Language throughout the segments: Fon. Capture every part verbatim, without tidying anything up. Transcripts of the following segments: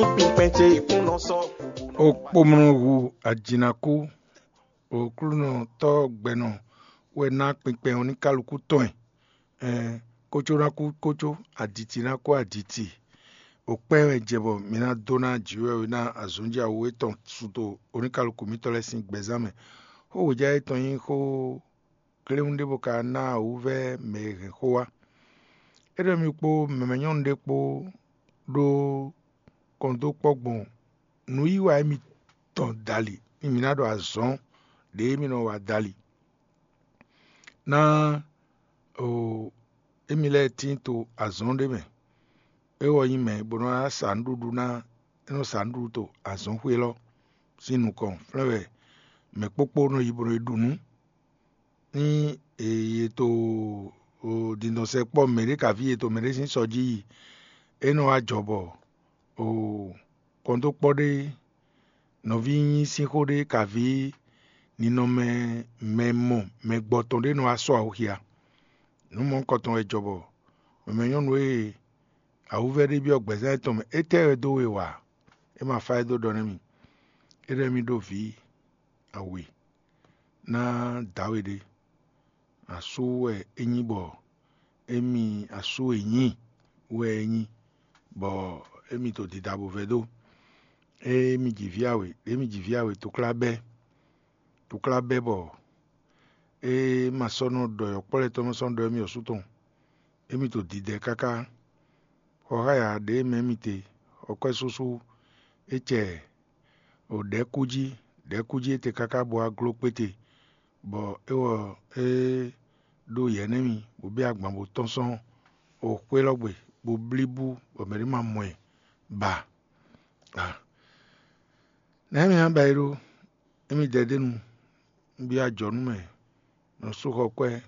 Kpɛn ce kún nɔ sɔ́. Okpomlɔ hu ajinakú, Oklúnɔ tɔ́ gbɛnɔ wɛ ná kpinkpɛn ɔ́ ní kálukú tɔn ɛ. Ɛn, kócó ná kú kócó, aditi ná kú aditi. Okpɛ́ wɛ jɛ bɔ mi ná dó ná jǐwɛwí ná azɔ̌njǎwe tɔn suto oníkálukú mitɔ́ lɛ́ɛ sín gbɛzán mɛ. Xó wějá yětɔn nyí xó kléwún ɖé bó ka ná wǔvɛ́ mɛ e hɛn xó wá. É ɖɔ mi kpó mɛmɛ nyɔ́nu ɖé kpó ɖó kɔn dó kpɔ́ gbɔn nǔyiwa émitɔn dali, nú mi ná ɖo azɔ̌ ɖě mi nɔ wa dali. Ná o émi lɛ́ɛ tín to azɔ̌ ɖé mɛ. É wɔ nyí mɛ bó nɔ sa nǔɖuɖu ná é nɔ sa nǔɖuɖu to azɔ̌xwé élɔ́ sín nukɔn, flɛ́n wɛ mɛ kpókpó nɔ yi bó nɔ yi ɖu nǔ. Ní è yi to dǐndɔn sɛkpɔ́ mɛɖé kaví e to mɛɖé sín sɔ jí yi, é nɔ wá jɔ bɔ kɔndókpɔ́ ɖé nɔví nyí sín xó ɖé kaví ninɔmɛ mɛ mɔ mɛ gbɔ tɔn ɖé nɔ wá sɔ́ awuxia. Nǔ mɔ̌hunkɔtɔn wɛ jɔ bɔ mɛmɛ nyɔ́nu e awuvɛ́ ɖé byɔ́ gbɛ̌zán yětɔn mɛ, étɛ́ wɛ dó we wa? É ma fá ɛ dó ɖɔ nɛ́ mi. É ɖɔ émí ɖó vǐ awe ná dǎwe ɖé. Asú wɛ é nyí bɔ émi asú e nyí wɛ é nyí, bɔ émi to dida bo vɛ́ dó. Émi ji vǐ awe, émi ji vǐ awe, tuklá bɛ́, tuklá bɛ́ bɔ é ma sɔ́ nɔ ɖɔ yɔ̌kpɔ́ lɛ́ɛ tɔn ma sɔ́ nɔ ɖɔ émi ɔ́ sú tɔn. Émi to didɛ káká. Xɔ xáya ɖě mɛ émi te, xɔ kwɛ́ súsú é cɛ o ɖɛ̌kú jí, ɖɛ̌kú jí é te káká bó wá gló kpéte, bɔ é wɔ é ɖó yɛ̌ nɛ́ mì, bó bɛ́ agban bó tɔ́n sɔ́ o xwé lɔ́ gbe, bó blí bú, bɔ mɛ̌ ɖé ma mɔ ɛ ba. Ah. Nɛ̌ mi ná ba é ɖó? Émi dɛdénu, un byɔ́ ajɔ̌ nú mɛ, nɔ sú xɔ kwɛ́.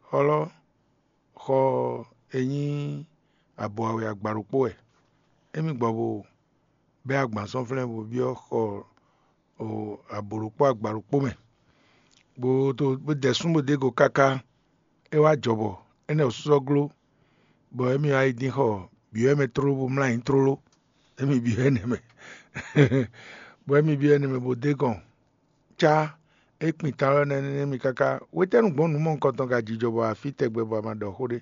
Xɔ lɔ́ xɔ e nyí abo awe agba ɖokpó wɛ. Émi gbɔ bo bɛ́ agban sɔ́ flɛ́n bo byɔ́ xɔ abo ɖokpó agba ɖokpó mɛ, bó dó bó dɛ sún bó dó go káká. É wá jɔ bɔ énɛ́ ɔ́ sɔ́ gló, bɔ émi wá yi dín xɔ byɔ̌ mɛ tlóló bó mlá ayǐ tlóló. Émi byɔ́ énɛ́ mɛ, bɔ émi byɔ́ énɛ́ mɛ bó dó gɔn cá é kpin ta lɔ nɛ́ nɛ́ mi káká. Hwetɛ́nu gbɔn nǔ mɔ̌hunkɔtɔn ka jijɔ bɔ afí tɛgbɛ bɔ a ma ɖɔ xó ɖé?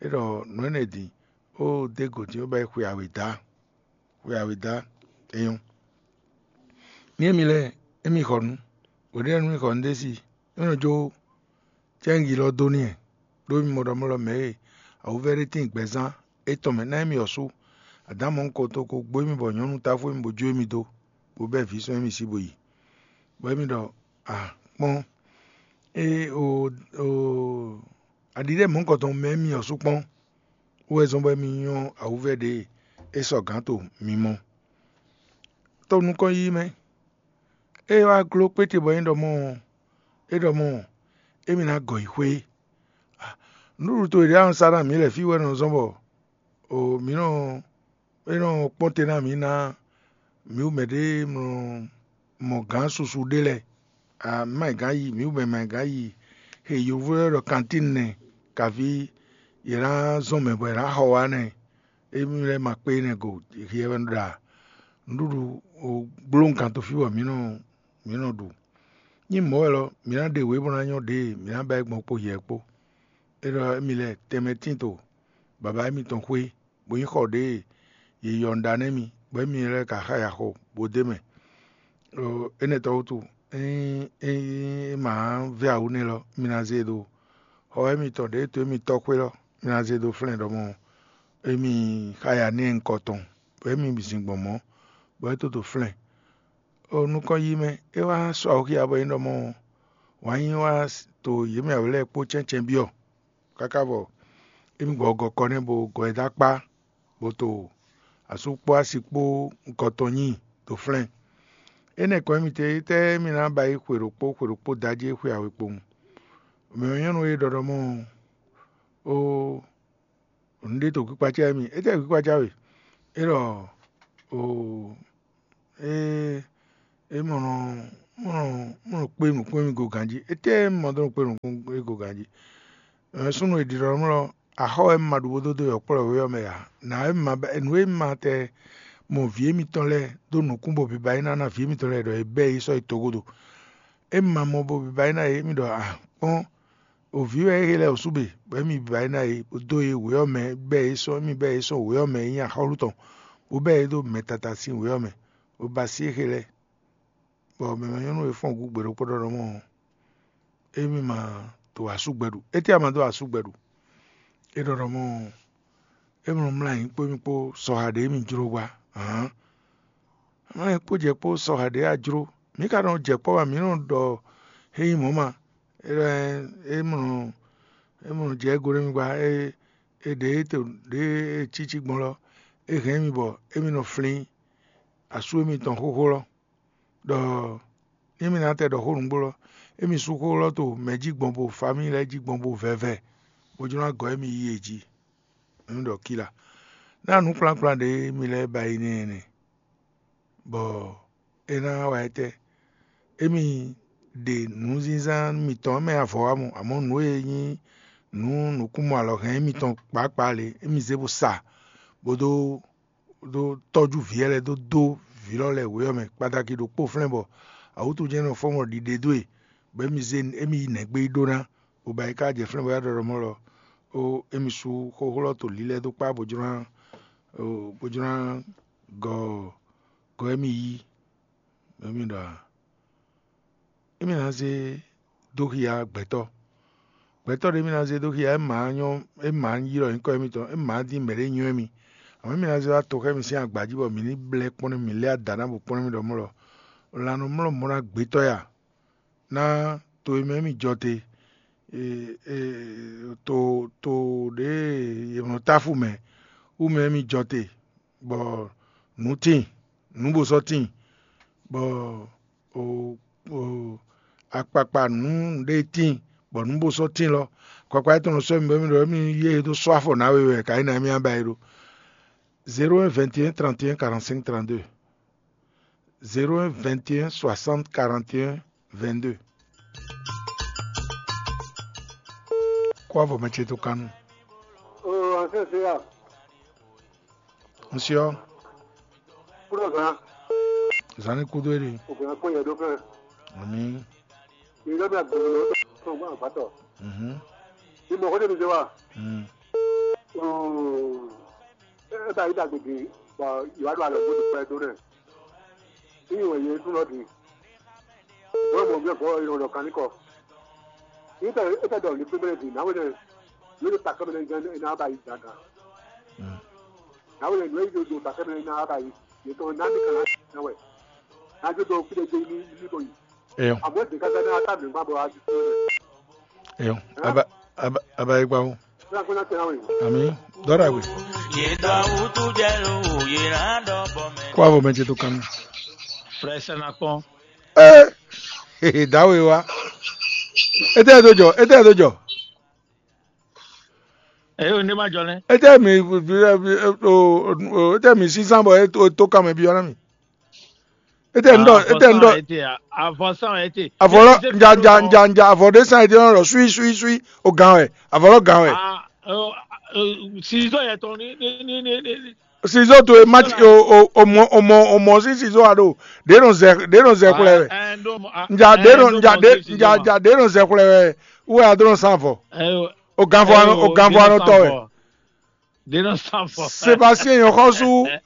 É ɖɔ nǔ énɛ́ din ó dó gǒ dín ó bɛ́ xwe awěda, xwe awěda é nyɔ́. Ní émi lɛ́ɛ émi xɔ nǔ, hweɖénu mi xɔ nǔ ɖé si, é nɔ jó cɛ́ngi lɔ dó n'i, ɖó mi mɔ ɖɔ mɔ ɖɔ mɛ e awuvɛ́ ɖé tín gbɛzán étɔn mɛ ná émi ɔ́ sú. Adǎn mɔ̌hunkɔtɔn ko gbó émi bɔ nyɔ̌nu táfú émi bó jó émi dó, bó bɛ́ vǐ sɔ́ émi sí bó yi. Bɔ émi ɖɔ: A kpɔ́n, é o o aɖiɖɛ mɔ̌hunkɔtɔn mɛ émi ɔ́ sú kpɔ́n, wú wɛ zɔ́n bɔ émi nyɔ́ awuvɛ́ ɖě e é sɔ gǎn to mi mɔ. Tó nukɔn yíyí mɛ, é wá gló kpéte bɔ é ɖɔ mɔ é ɖɔ mɔ émi ná gɔ yi xwé. Nǔɖuɖu towe ɖě a nɔ sa ná mǐ lɛ̌ fí wɛ nɔ zɔ́n bɔ o mǐ nɔ é nɔ kpɔ́n te ná mǐ ná mǐ wú mɛ ɖé mɔ mɔ gǎn susu ɖé lɛ́ɛ. A má yi gǎn yi, mǐ wú mɛ má yi gǎn yi he yovo lɛ́ɛ ɖɔ kantín nɛ, kaví yě ná zɔn mɛ bɔ yě ná xɔ wá nɛ. Émi lɛ́ɛ ma kpé nɛ go, hiɛ wɛ ɖo ɖa nǔɖuɖu gblóhùn kan to fí bɔ mǐ nɔ mǐ nɔ ɖu. Nyí mɔ̌ wɛ lɔ, mǐ ná ɖe wě bó ná nyɔ́ ɖě mǐ ná ba é gbɔn kpó hiɛ kpó. É ɖɔ émi lɛ́ɛ tɛnmɛ tín to baba émitɔn xwé, bó nyí xɔ ɖě yě yɔ nǔ ɖa nú émi, bɔ émi lɛ́ɛ ka xá ya xo bó d'é mɛ. Énɛ́ tɔn wútu, ényí é ma vɛ́ awǔ nɛ́ lɔ, mi ná zé e ɖó xɔ émitɔn ɖě to émi tɔ́ xwé lɔ, mi ná zé e ɖó flɛ́n ɖɔ mɔ émi xá ya nɛ́ nyí nukɔn tɔn, bɔ émi bǐ zin gbɔn mɔ̌, bɔ é tó dó flɛ́n. O nukɔn yi mɛ, é wá sɔ́ awǔxia bɔ é ɖɔ mɔ wǎn yí wá to yě mɛ wɛ lɛ́ɛ kpó cɛ́ncɛ́n byɔ́, káká bɔ émi gbɔ gɔkɔ nɛ́ bo gɔ ɛ dó akpá, bo to asú kpó asi kpó nukɔn tɔn nyi dó flɛ́n. Énɛ́ kɔn émi te, étɛ́ émi ná ba yí xwe ɖokpó xwe ɖokpó da jí é xwe awe kpowun. Mɛ nyɔ́nu e ɖɔ ɖɔ mɔ ó nǔɖé to kpíkpácá émi, étɛ́ kpíkpácá we? É ɖɔ o é é mɔ nɔ mɔ nɔ mɔ nɔ kpé nǔkpɛ́n mì go ganjí. Étɛ́ mɔ dó nɔ kpé nǔkpɛ́n go ganjí? Súnnu e ɖiɖɔ nú lɔ axɔ́ wɛ ma ɖu bó dó dó yɔ̌kplɔ́ wé ɔ́ mɛ ǎ. Nǎ wɛ ma nǔ e ma tɛ mɔ vǐ émítɔn lɛ́ɛ dó nǔkún bo biba é ná ná vǐ émítɔn lɛ́ɛ ɖɔ é bɛ́ yě sɔ́ yi togodo. Émi ma mɔ bo biba é ná yě, émi ɖɔ a kpɔ́n, o vǐ wɛ é lɛ́ɛ wǒ sú be, bɔ émi biba é ná yě, bó dó yě wě ɔ́ mɛ, bɛ́ yě sɔ́ émi bɛ́ yě sɔ́ wě ɔ́ mɛ é nyí axɔ́lú tɔn, bó bɛ́ yě dó mɛ tata sín wě ɔ́ mɛ, bó ba sí é lɛ́ɛ, bɔ mɛ ma nyɔ́ nú we fɔ́n gǔ gbe ɖokpó ɖɔ ɖɔ mɔ émí ma dó asúgbɛ́ ɖu. Étɛ́ a ma dó asúgbɛ́ ɖu? É ɖɔ ɖɔ mɔ émí nɔ mlá nyǐ kpó émí kpó sɔha ɖě émí jló gbá. Hǎn, mlá nyǐ kpó jɛ kpó sɔha ɖě a jló. Mǐ ka nɔ jɛ kpɔ́ wɛ, mǐ nɔ ɖɔ é nyí mɔ̌ ma. É ɖɔ é mɔ é mɔ jɛ égó nú émí gbá. É é ɖě é to ɖě é cí cí gbɔn lɔ, é hɛn émí bɔ émí nɔ flín asú émítɔn xóxó lɔ. Ɖɔ nú mì ná tɛ ɖɔ xó nǔgbó lɔ, émi sú xó lɔ to mɛ jí gbɔn bo famíyi lɛ́ɛ jí gbɔn bo vɛvɛ, bó jló ná gɔ́ émi yi yě jí. Émi ɖɔ kíla. Ná nǔkplɔ́nkplɔ́n ɖě mi lɛ́ɛ ba yi n'i ɛnɛ, bɔ é ná wa étɛ́? Émi ɖe nǔzínzán mitɔn mɛ avɔ wá mɔ, amɔ̌ nǔ e nyí nǔ nǔkúnmɔ alɔhɛn émitɔn kpǎkpá lě, émi zé bó sa, bó dó dó tɔ́jú vǐ lɛ́ɛ lɛ́ɛ dó dó vǐ lɔ lɛ́ɛ wě ɔ́ mɛ kpadaki ɖokpó flɛ́n bɔ awǔtujɛ́n nɔ fɔ́n bɔ ɖiɖe dó e, bɔ émi zé émi yi nɛ̌gbé yi ɖó ná, bó ba yi ká jɛ flɛ́n bɔ é wá ɖɔ ɖɔ mɔ̌ lɔ, ó émi sú xóxó lɔ to lílɛ́ dó kpá bó jló ná bó jló ná gɔ gɔ émi yí, bɔ émi ɖɔ a émi ná zé dó xia gbɛtɔ́. Gbɛtɔ́ ɖé mì ná zé dó xia, é mǎ nyɔ́, é mǎ ylɔ́ nyǐkɔ émítɔn, é mǎ dín mɛ̌ ɖé nywɛ́ mì. Amɔ̌ mì ná zé wá toxɛ́ mì sín agba jí bɔ mǐ ní blɛ́ kpɔ́n nú mǐ lɛ́ ada ná bo kpɔ́n nú mì ɖɔ mɔ̌ lɔ, lan nɔ mlɔ́ mɔ̌ ná gbétɔ́ ya, ná to e mɛ mì jɔ te, to to ɖě e è nɔ táfú mɛ wú mɛ mì jɔ te, bɔ nǔ tíin, nǔ bo sɔ́ tíin, bɔ akpakpa nǔ ɖé tíin, bɔ nǔ bo sɔ́ tíin lɔ, akpakpa étɔn nɔ sɔ́ mi bɔ mì ɖɔ émí yí e dó sɔ́ afɔ nǎ we wɛ, ka yí ná émí ba e ɖó. Zéro un vingt et un trente et un quarante-cinq trente-deux. Zéro un vingt et un soixante quarante et un vingt-deux. Kó avɔ mɛ ce tó kánú. Ɔ, ansɛsɛ ya. Ŋsyɔ. Kúrò gan. Zani kudo eri. Ògùn akpọ̀ yẹn dó fẹ́. Ami. Ìjọba bí agbègbè ló tó gbọ́n àgbàtọ̀. Mhm. Ìmọ̀ kó débi ṣe wà. Mm. Ẹ bá yí dàgbègbè bọ̀ ìwádìí àlọ́ gbọ́dọ̀ pẹ́ tó rẹ̀. Ìyẹn wọ̀nyí tún lọ dì. Wọ́n mọ̀ bí ọ̀gọ́ ìrọ̀lọ́ kan ní kọ. Nítorí ẹ tẹ́ dọ̀ ní pépéré dì náwó lẹ̀. Yóò ta kẹ́mẹ́rẹ́ jẹ́ iná bá yí gàgà. Mm. Náwó lẹ̀ nú èyí tó ta kẹ́mẹ́rẹ́ iná bá yí. Yìí tó náà ní kàlá náà wẹ̀. Náà tó tó kúlẹ̀ dé ní ní bọ̀ yìí. Eyo. Àmọ́ ìdí kájá ní ata mi gbàgbọ́ àti tó rẹ̀. Eyo. Aba aba aba yi gbawo. Bí a kò náà tẹ̀lé àwọn yìí. Ami. Dɔda gbe. Yedɔ wutu jɛ lo yena dɔ bɔ mɛ. Kó avɔ mɛ ce tó kan. Frère Senakpɔn. Ee. Dawe wa. Ete do jɔ, ete do jɔ. Eyo ne ma jɔ ne. Ete mi, ete mi sisan bɔ e to kan mɛ bi ɔna mi. Ete n dɔ, ete n dɔ. Avɔ san ete. Avɔ lɔ nja nja nja nja avɔ de san ete nɔ lɔ sui sui sui o gan wɛ. Avɔ lɔ gan wɛ. Sizo yɛ tɔn ni ni ni ni ni. Sizo to e ma o o o mɔ o mɔ o mɔ si sizo a do. De nɔ zɛ de nɔ zɛ kulɛ wɛ. Nja de nɔ nja de nja nja de nɔ zɛ kulɛ wɛ. Wɛ a do nɔ san avɔ. O ganvɔ anɔ o ganvɔ anɔ tɔ wɛ. Sébastien Yɔxɔsu.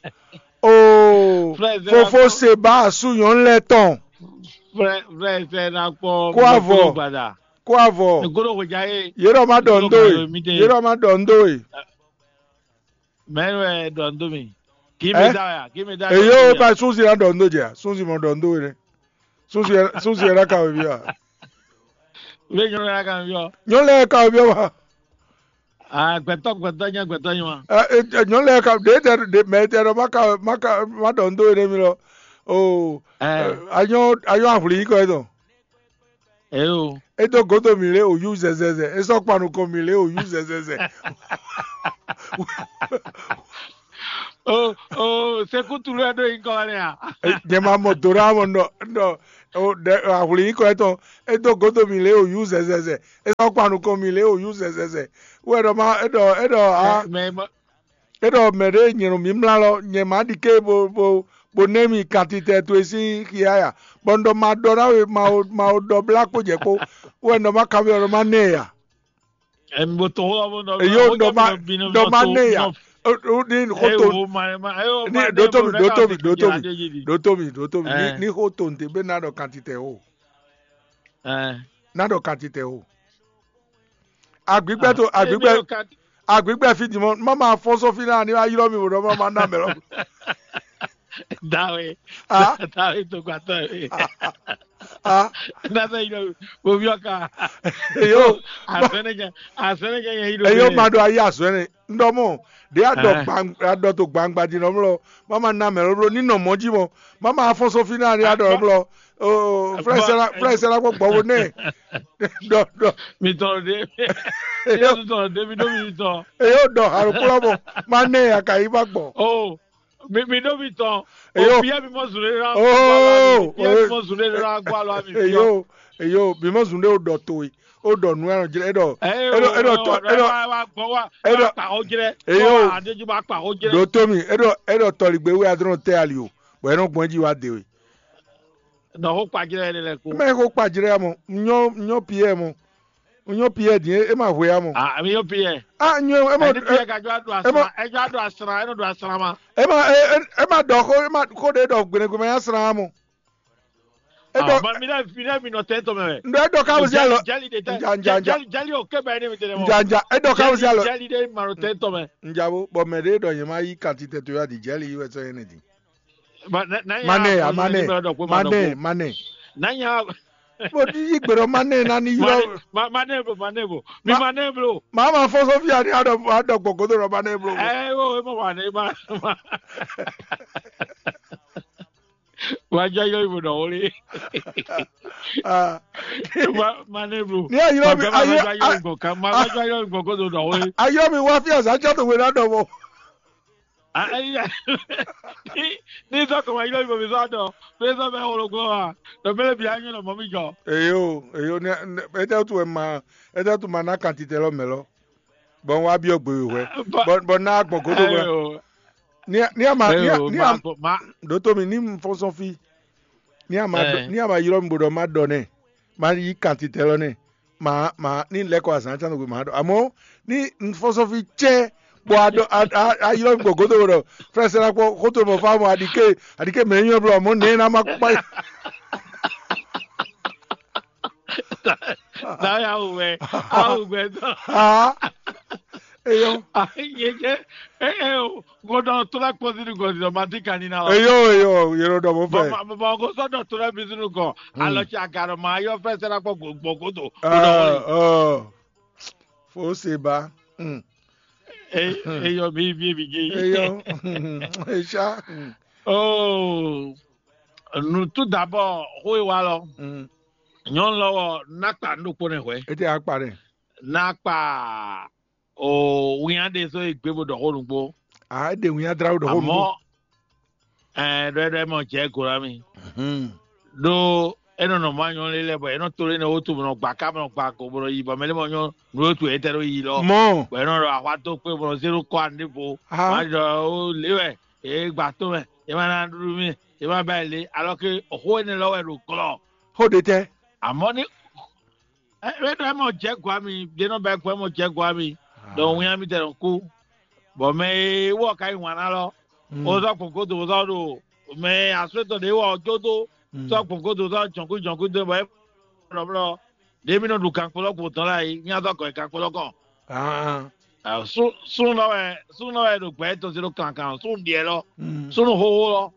O fofo Seba asu nyɔnu lɛ tɔn. Kó avɔ. Kó avɔ. Yé ɖɔ ma ɖɔ ndo e. Yé ɖɔ ma ɖɔ ndo e. Mɛnu wɛ ɖɔ ndo mi. Kí mi da ya, kí mi da. Eyo ba sunsi na ɖɔ ndo jɛ. Sunsi mɔ ɖɔ ndo e. Sunsi sunsi na ka wɛ bi wa. Wé nyɔnu ya ka wɛ bi wa. Nyɔnu lɛ ka wɛ bi wa. Ah, gbɛtɔ gbɛtɔ nyɛ gbɛtɔ nyɛ wa. Nyɔnu lɛ ka ɖe tɛ ɖe mɛ tɛ ɖɔ ma ka ma ka ma ɖɔ ndo e ne mi lɔ. O. Anyɔ anyɔ ahwli yi kɔ etɔn. Eyo. E dó godo mì lé o yú zɛzɛzɛ. E sɔ́ kpa nukɔn mì lé o yú zɛzɛzɛ. O o sekutu lɛ ɖo yi kɔ wɛ a. Nyɛ ma mɔ do ɖe amɔ nɔ nɔ o ɖe ahwli yi kɔ etɔn. E dó godo mì lé o yú zɛzɛzɛ. E sɔ́ kpa nukɔn mì lé o yú zɛzɛzɛ. Wɛ ɖɔ ma e ɖɔ e ɖɔ a. Mɛ mɛ É ɖɔ mɛ ɖě nyɛ ɖo mǐmlá lɔ, nyɛ má ɖi ké bo bo bo ná mi kantitɛ towe sín xia ya, bɔ un ɖɔ ma ɖɔ ná we ma o ma o ɖɔ blá kpó jɛ kpó, wɛ un ɖɔ ma kanbyɔ́ ɖɔ ma ná ɛ ya. Emi bo to xó ɔ́ bó nɔ. Èyí ò ɖɔ ma ɖɔ ma ná ɛ ya. Ní xó to ní ɖótó mi ɖótó mi ɖótó mi ɖótó mi ɖótó mi ní xó to ntě bɛ ná ɖɔ kantitɛ o. Ná ɖɔ kantitɛ o. Agbigbɛ to agbigbɛ agbigbɛ fi dimɔ má ma fɔ́n sɔ́ fí náà ní wá ylɔ́ mi wò ɖɔ má ma ná mɛ lɔ. Dawe. Dawe to gbàtọ́ yìí. Nasa yi lɔ wo fi ɔka. Eyo. Asɛnɛjɛ asɛnɛjɛ yɛ yi lɔ. Eyo ma ɖo ayi azɔɛ ne ŋdɔ mɔ ɖe adɔ gbangba adɔ to gbangba di nɔ mlɔ má ma ná mɛ lɔ ní nɔ mɔ jí mɔ má ma fɔ́n sɔ́ fí náà ní adɔ mlɔ. Flɛsɛla flɛsɛla kpɔ gbɔvo nɛ. Dɔ dɔ. Mi tɔn ɖe. Eyo tɔn ɖe mi ɖo mi tɔn. Eyo dɔ alukplɔ mɔ ma nɛ akayi ma gbɔ. Oh, mi mi ɖo mi tɔn. Eyo. Obiɛ mi mɔ zun ɖe la. Oh, obiɛ mi mɔ zun ɖe la gbɔ alɔ mi fi. Eyo eyo mi mɔ zun ɖe o dɔ to yi o dɔ nu ɛnɔ jrɛ edɔ. Edɔ edɔ tɔ edɔ. Edɔ kpa o jrɛ. Eyo. Adeju ma kpa o jrɛ. Do to mi edɔ edɔ tɔligbe wɛ adrɔn tɛ ali o bɔn ɛnɔ gbɔn ji wa de we. Nɔ xó kpajlɛ yɛ lɛ ko. Mɛ xó kpajlɛ ya mɔ, nyɔ nyɔ Pierre mɔ, nyɔ Pierre din e ma hwe ya mɔ. Ah, mi nyɔ Pierre. Ah, nyɔ e ma Ɛdi Pierre ka jɔ adu asra, ɛ jɔ adu asra, ɛ nɔ do asra ma. E ma e e ma dɔ xó e ma xó de dɔ gbɛnɛgbɛnɛ ya sra mɔ. E dɔ. Ah, mi lɛ mi lɛ mi nɔ tɛ tɔ mɛ. Ndɔ e dɔ ka wusɛ lɔ. Jali de tɛ. Nja nja nja. Jali jali o kɛ bɛ ne mi tɛ dɛ mɔ. Nja nja e dɔ ka wusɛ lɔ. Jali de ma nɔ tɛ tɔ mɛ. Nja bo bɔn mɛ de dɔ yɛn ma yi kanti tɛ to ya di jali yi wɛ sɔ yɛn ne di. Mane ya mane mane mane. Nanya. Mo ti yi gbe ɖɔ mane na ni yɔ. Mane blo mane blo mi mane blo. Maa ma fɔ sɔfia ni aɖɔ aɖɔ gbɔgodo ɖɔ mane blo. Ɛ wo e ma wa ne ma ma. Wa jɔ yɔ ibo dɔ wole. Ah. Mane blo. Ni ayɔ mi ayɔ ayɔ mi wa fi azan jɔ to wele adɔ mɔ. Ní sɔ́ kɔn wá ylɔ́ yí bɔ mi sɔ́ dɔ mi sɔ́ bɛ xologbó a, ɖɔ mɛ lɛ́ɛ bǐ á nyɔ́ nɔ mɔ mì jɔ. Eyo eyo ní etɛ́ wútu wɛ ma etɛ́ wútu ma ná kan titɛ lɔ mɛ lɔ, bɔ un wá byɔ́ gbe wěwé, bɔ ná gbɔn gǒdo wɛ. Ní a ma ní a ɖǒtó mi ní un fɔ́n sɔ́n fí, ní a ma ní a ma ylɔ́ mi bó ɖɔ má ɖɔ nɛ́, má yí kan titɛ lɔ nɛ́. Ma ma ní lɛ́ kɔ azǎn tán nɔgbe ma ɖɔ amɔ̌ ní un fɔ́n sɔ́ fí cɛ́ bɔ a ɖɔ a a a ylɔ́ mi gbɔ̌ gǒdo ɖɔ frɛsɛ́ ná kpɔ́ xótó mɔ fá mɔ aɖike aɖike mɛ nyɔ́ blɔ mɔ̌ nɛ̌ ná má kpá. Táyà wò wɛ, a wò gbɛ tán. Aa eyɔ. Yé jẹ́ ẹ ẹ o, gbọ́dọ̀ tó bá kpọ́ sínú gọ̀ọ́sì lọ, máa dín kan nínú àwọn. Eyɔ eyɔ yẹrọ dɔ mo fẹ́. Bọ̀bọ̀ kò sọ́dọ̀ tó rẹ́ bí sínú kan, alọ́ ti àgàrọ̀ máa yọ fẹ́ sẹ́dá pọ̀ gbọ̀ngàn tó. Aa ɔ fo se ba. Eyɔ mi bí ebi jẹ́ yìí. Eyɔ eṣá. Oh, nu tout d'abord, xó e wa lɔ. Nyɔnu lɔ wɔ nakpa nu ɖokpó nɛ hwɛ. Ete akpa ɖe. Nakpa o winya ɖe so e gbé bo ɖɔ xó nugbo. Ah, ede winya dra ɖɔ xó nugbo. Amɔ ɛɛ ɖɔ ɛɖɔ ɛmɔ jɛ go na mi. Ɖo enɔ nɔ mɔ anyɔ lé lɛ bɔ enɔ to lé ne wotu bɔ nɔ gba ká bɔ nɔ gba go bɔ nɔ yi bɔ mɛ lé mɔ nyɔ nu wotu etɛ ɖo yi lɔ. Mɔ. Bɔ enɔ ɖɔ ahwa dó kpé bɔ nɔ zé ɖo kɔ ande bo. Aha. Ma ɖɔ o lé wɛ e gba to mɛ e ma na ɖuɖu mi e ma ba yi lé alɔ ke xó enɛ lɔ wɛ ɖo glɔ. Xó ɖe tɛ. Amɔ ni ɛ ɛ ɖɔ ɛmɔ jɛ gɔa mi ɖe nɔ bɛ gbɔ ɛmɔ jɛ gɔa mi ɖɔ ŋun ya mi tɛ nɔ kú. Bɔ mɛ e wɔ ka yi wan na lɔ o zɔ gbɔn godo o zɔ ɖo mɛ aswetɔ ɖe wɔ jó dó zɔ gbɔn godo zɔ jɔnkú jɔnkú dó bɔ é ɖɔ blɔ ɖe mi nɔ ɖu gankpo lɔ gbɔn tɔn la yi mi azɔ gɔ yi gankpo lɔ kɔn. Sun sun lɔ wɛ sun lɔ wɛ ɖo gbɛ to zero kankan sun diɛ lɔ sun xoxo lɔ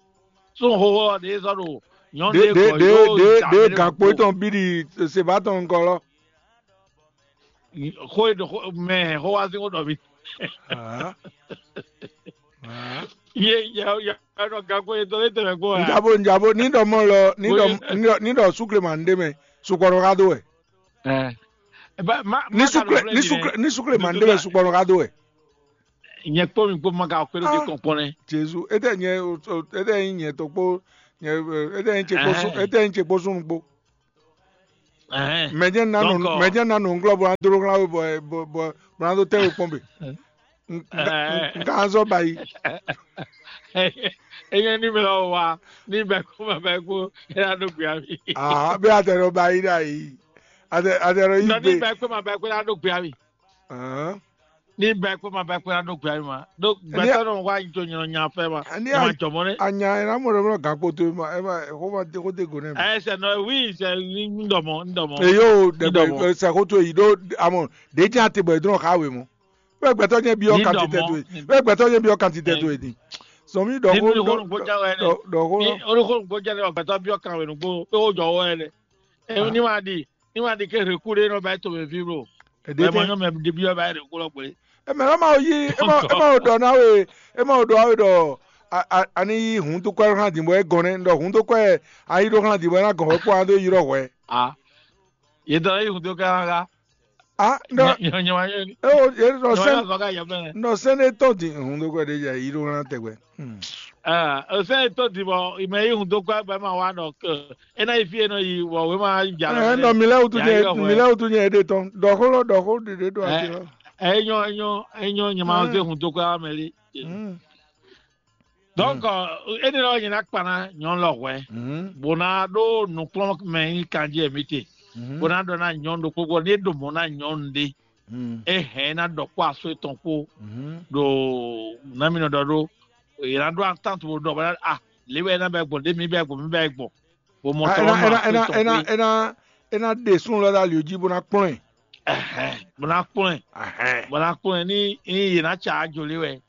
sun xoxo lɔ ɖe zɔ ɖo nyɔnu ɖe gbɔ yóò ɖe gankpo tɔn bi ɖi seba tɔn ŋkɔ lɔ. Xó e ɖo xó mɛ xó wá sí xó ɖɔ mi. Ye ye ye ɖɔ gankpo ye tɔn lé tɛmɛ gbɔ ya. Njabo njabo ní ɖɔ mɔ lɔ ní ɖɔ ní ɖɔ súkle ma ń ɖe mɛ sukpɔnɔ ká dó wɛ. Ní súkle ní súkle ní súkle ma ń ɖe mɛ sukpɔnɔ ká dó wɛ. Nyɛ kpó mi kpó ma ka kpé ló dé kɔn kpɔn nɛ. Jesu, ete nyɛ ete nyɛ to kpó nyɛ ete nyɛ tse kpó sún ete nyɛ tse kpó sún kpó. Mɛ jẹ́ nanu mɛ jẹ́ nanu ŋglɔ bɔ adoro ŋla we bɔ bɔ bɔ bɔ ado tɛ we kpɔn be. Un ka zɔ ba yi. Enye ní mi lɔ wa ní bɛ kó ma bɛ kó é ná ɖó gbé ami. Bí a tɛ nɔ ba yi ɖa yi. A tɛ nɔ yi Nɔ ní gbé. Bɛ kó ma bɛ kó é ná ɖó gbé ami. Ahán. Ní bɛ kó ma bɛ kó é ná ɖó gbé ami ma. Ɖó gbɛtɔ nɔ wá yi tó nyɔ nya fɛ ma. Ani Nya ma jɔ mɔ nɛ. Anya ɛ ná mɔ ɖe mɔ gán kpótó ɛ ma ɛ ma xó ma dé xó dé go nɛ mɛ. Ɛ sɛ nɔ wi sɛ ní dɔ mɔ ní dɔ mɔ. Eyo Ní dɔ mɔ. Dɛgbɛ sɛ xó tó yi ɖó amɔ ɖě jẹ́ àtìgbọ̀ ìdúró ká wé mɔ. Bẹ́ẹ̀ gbẹ̀tọ́ yẹn bí Ní ọkàn dɔ ti tẹ́ tó mɔ. yìí. Bẹ́ẹ̀ gbẹ̀tọ́ yẹn bí ọkàn ti tẹ́ tó yìí. Sọmi dɔ̀kó Nínú ìhónú gbọ́dọ̀ wẹ̀ ni. Dọ̀kó Ní orúkọ gbọ́dọ̀ ní ọ̀gbẹ́tọ́ bí ọkàn rẹ̀ nùgbò pé ó jọ ọwọ́ ẹ lẹ̀. Ẹ ní wàá di ní wàá di ké rèkú ɖé nɔ bá tó mɛ fí bro. Èdè Ẹ mọ tẹ. Nyɔnu mɛ ɖe bí ọba rèkú lɔ gbé. Eme ɔ́ ma yi ema ema o ɖɔ na we ema o ɖɔ awe ɖɔ a- a- ani yi hun tó kɔ hàn dìbò ɛ gɔn nɛ ɖɔ hun tó kɔ ɛ ayi ɖo hàn dìbò ɛ na gɔn wɛ kpɔ an tó yi ɖɔ hwɛ. A yě dɔ yí hun tó ká ká. Ah, ɖɔ Nyɔnyɔ wa yóò ní. e o ye ɖɔ Nyɔnyɔ sɛn wa zɔ ká yɛ fɛnɛ. Ɖɔ sɛn ne tɔn di hun tó kɔ ɛ ɖe yi ɖo hàn tɛgbɛ. Hmm. Ɛ o sɛ to di bɔ ìmọ̀ yí hun tó kọ́ ẹgbẹ́ máa wá nọ kẹ́ ẹ náà yí fi ẹ̀ náà yí wọ̀ wé máa jà lọ. Ɛ nɔ mi lɛ wutu Ya nyɛ yɔ mi hwɛ. Lɛ wutu nyɛ ɖe tɔn ɖɔ xó lɔ ɖɔ xó ɖeɖe ɖo ati lɔ. Enyo enyo enyo nyɛ máa zé hun tó kọ́ ẹ mɛ lé. Hmm. Donc, ene lɔ nyɛ na kpa na nyɔnu lɔ hwɛ. Hmm. Bó ná ɖó nukplɔ́n mɛ nyí kanjí ɛ mi te. Hmm. Bó ná ɖɔ ná nyɔnu ɖokpó gbɔ ní é ɖo mɔ̌ ná nyɔnu ɖé. Hmm. É hɛn ná ɖɔ kpó aso étɔn kpó Hmm. ɖo nami nɔ ɖɔ ɖó. Yě ná ɖó attant bó ɖɔ bó ná a lě wɛ é ná bɛ gbɔn ɖé mi bɛ gbɔn mi bɛ gbɔn. Bó mɔ Ah, tɔ ena ɔ́ nɔ ena aso ena étɔn ena kpó. ena ena ɖe sun lɔ ɖe ali jí bó ná kplɔn ɛ. Ɛhɛn, bó ná kplɔn ɛ. Ahɛn. Bó ná kplɔn ɛ ní ní yě ná tsa ajo lé wɛ.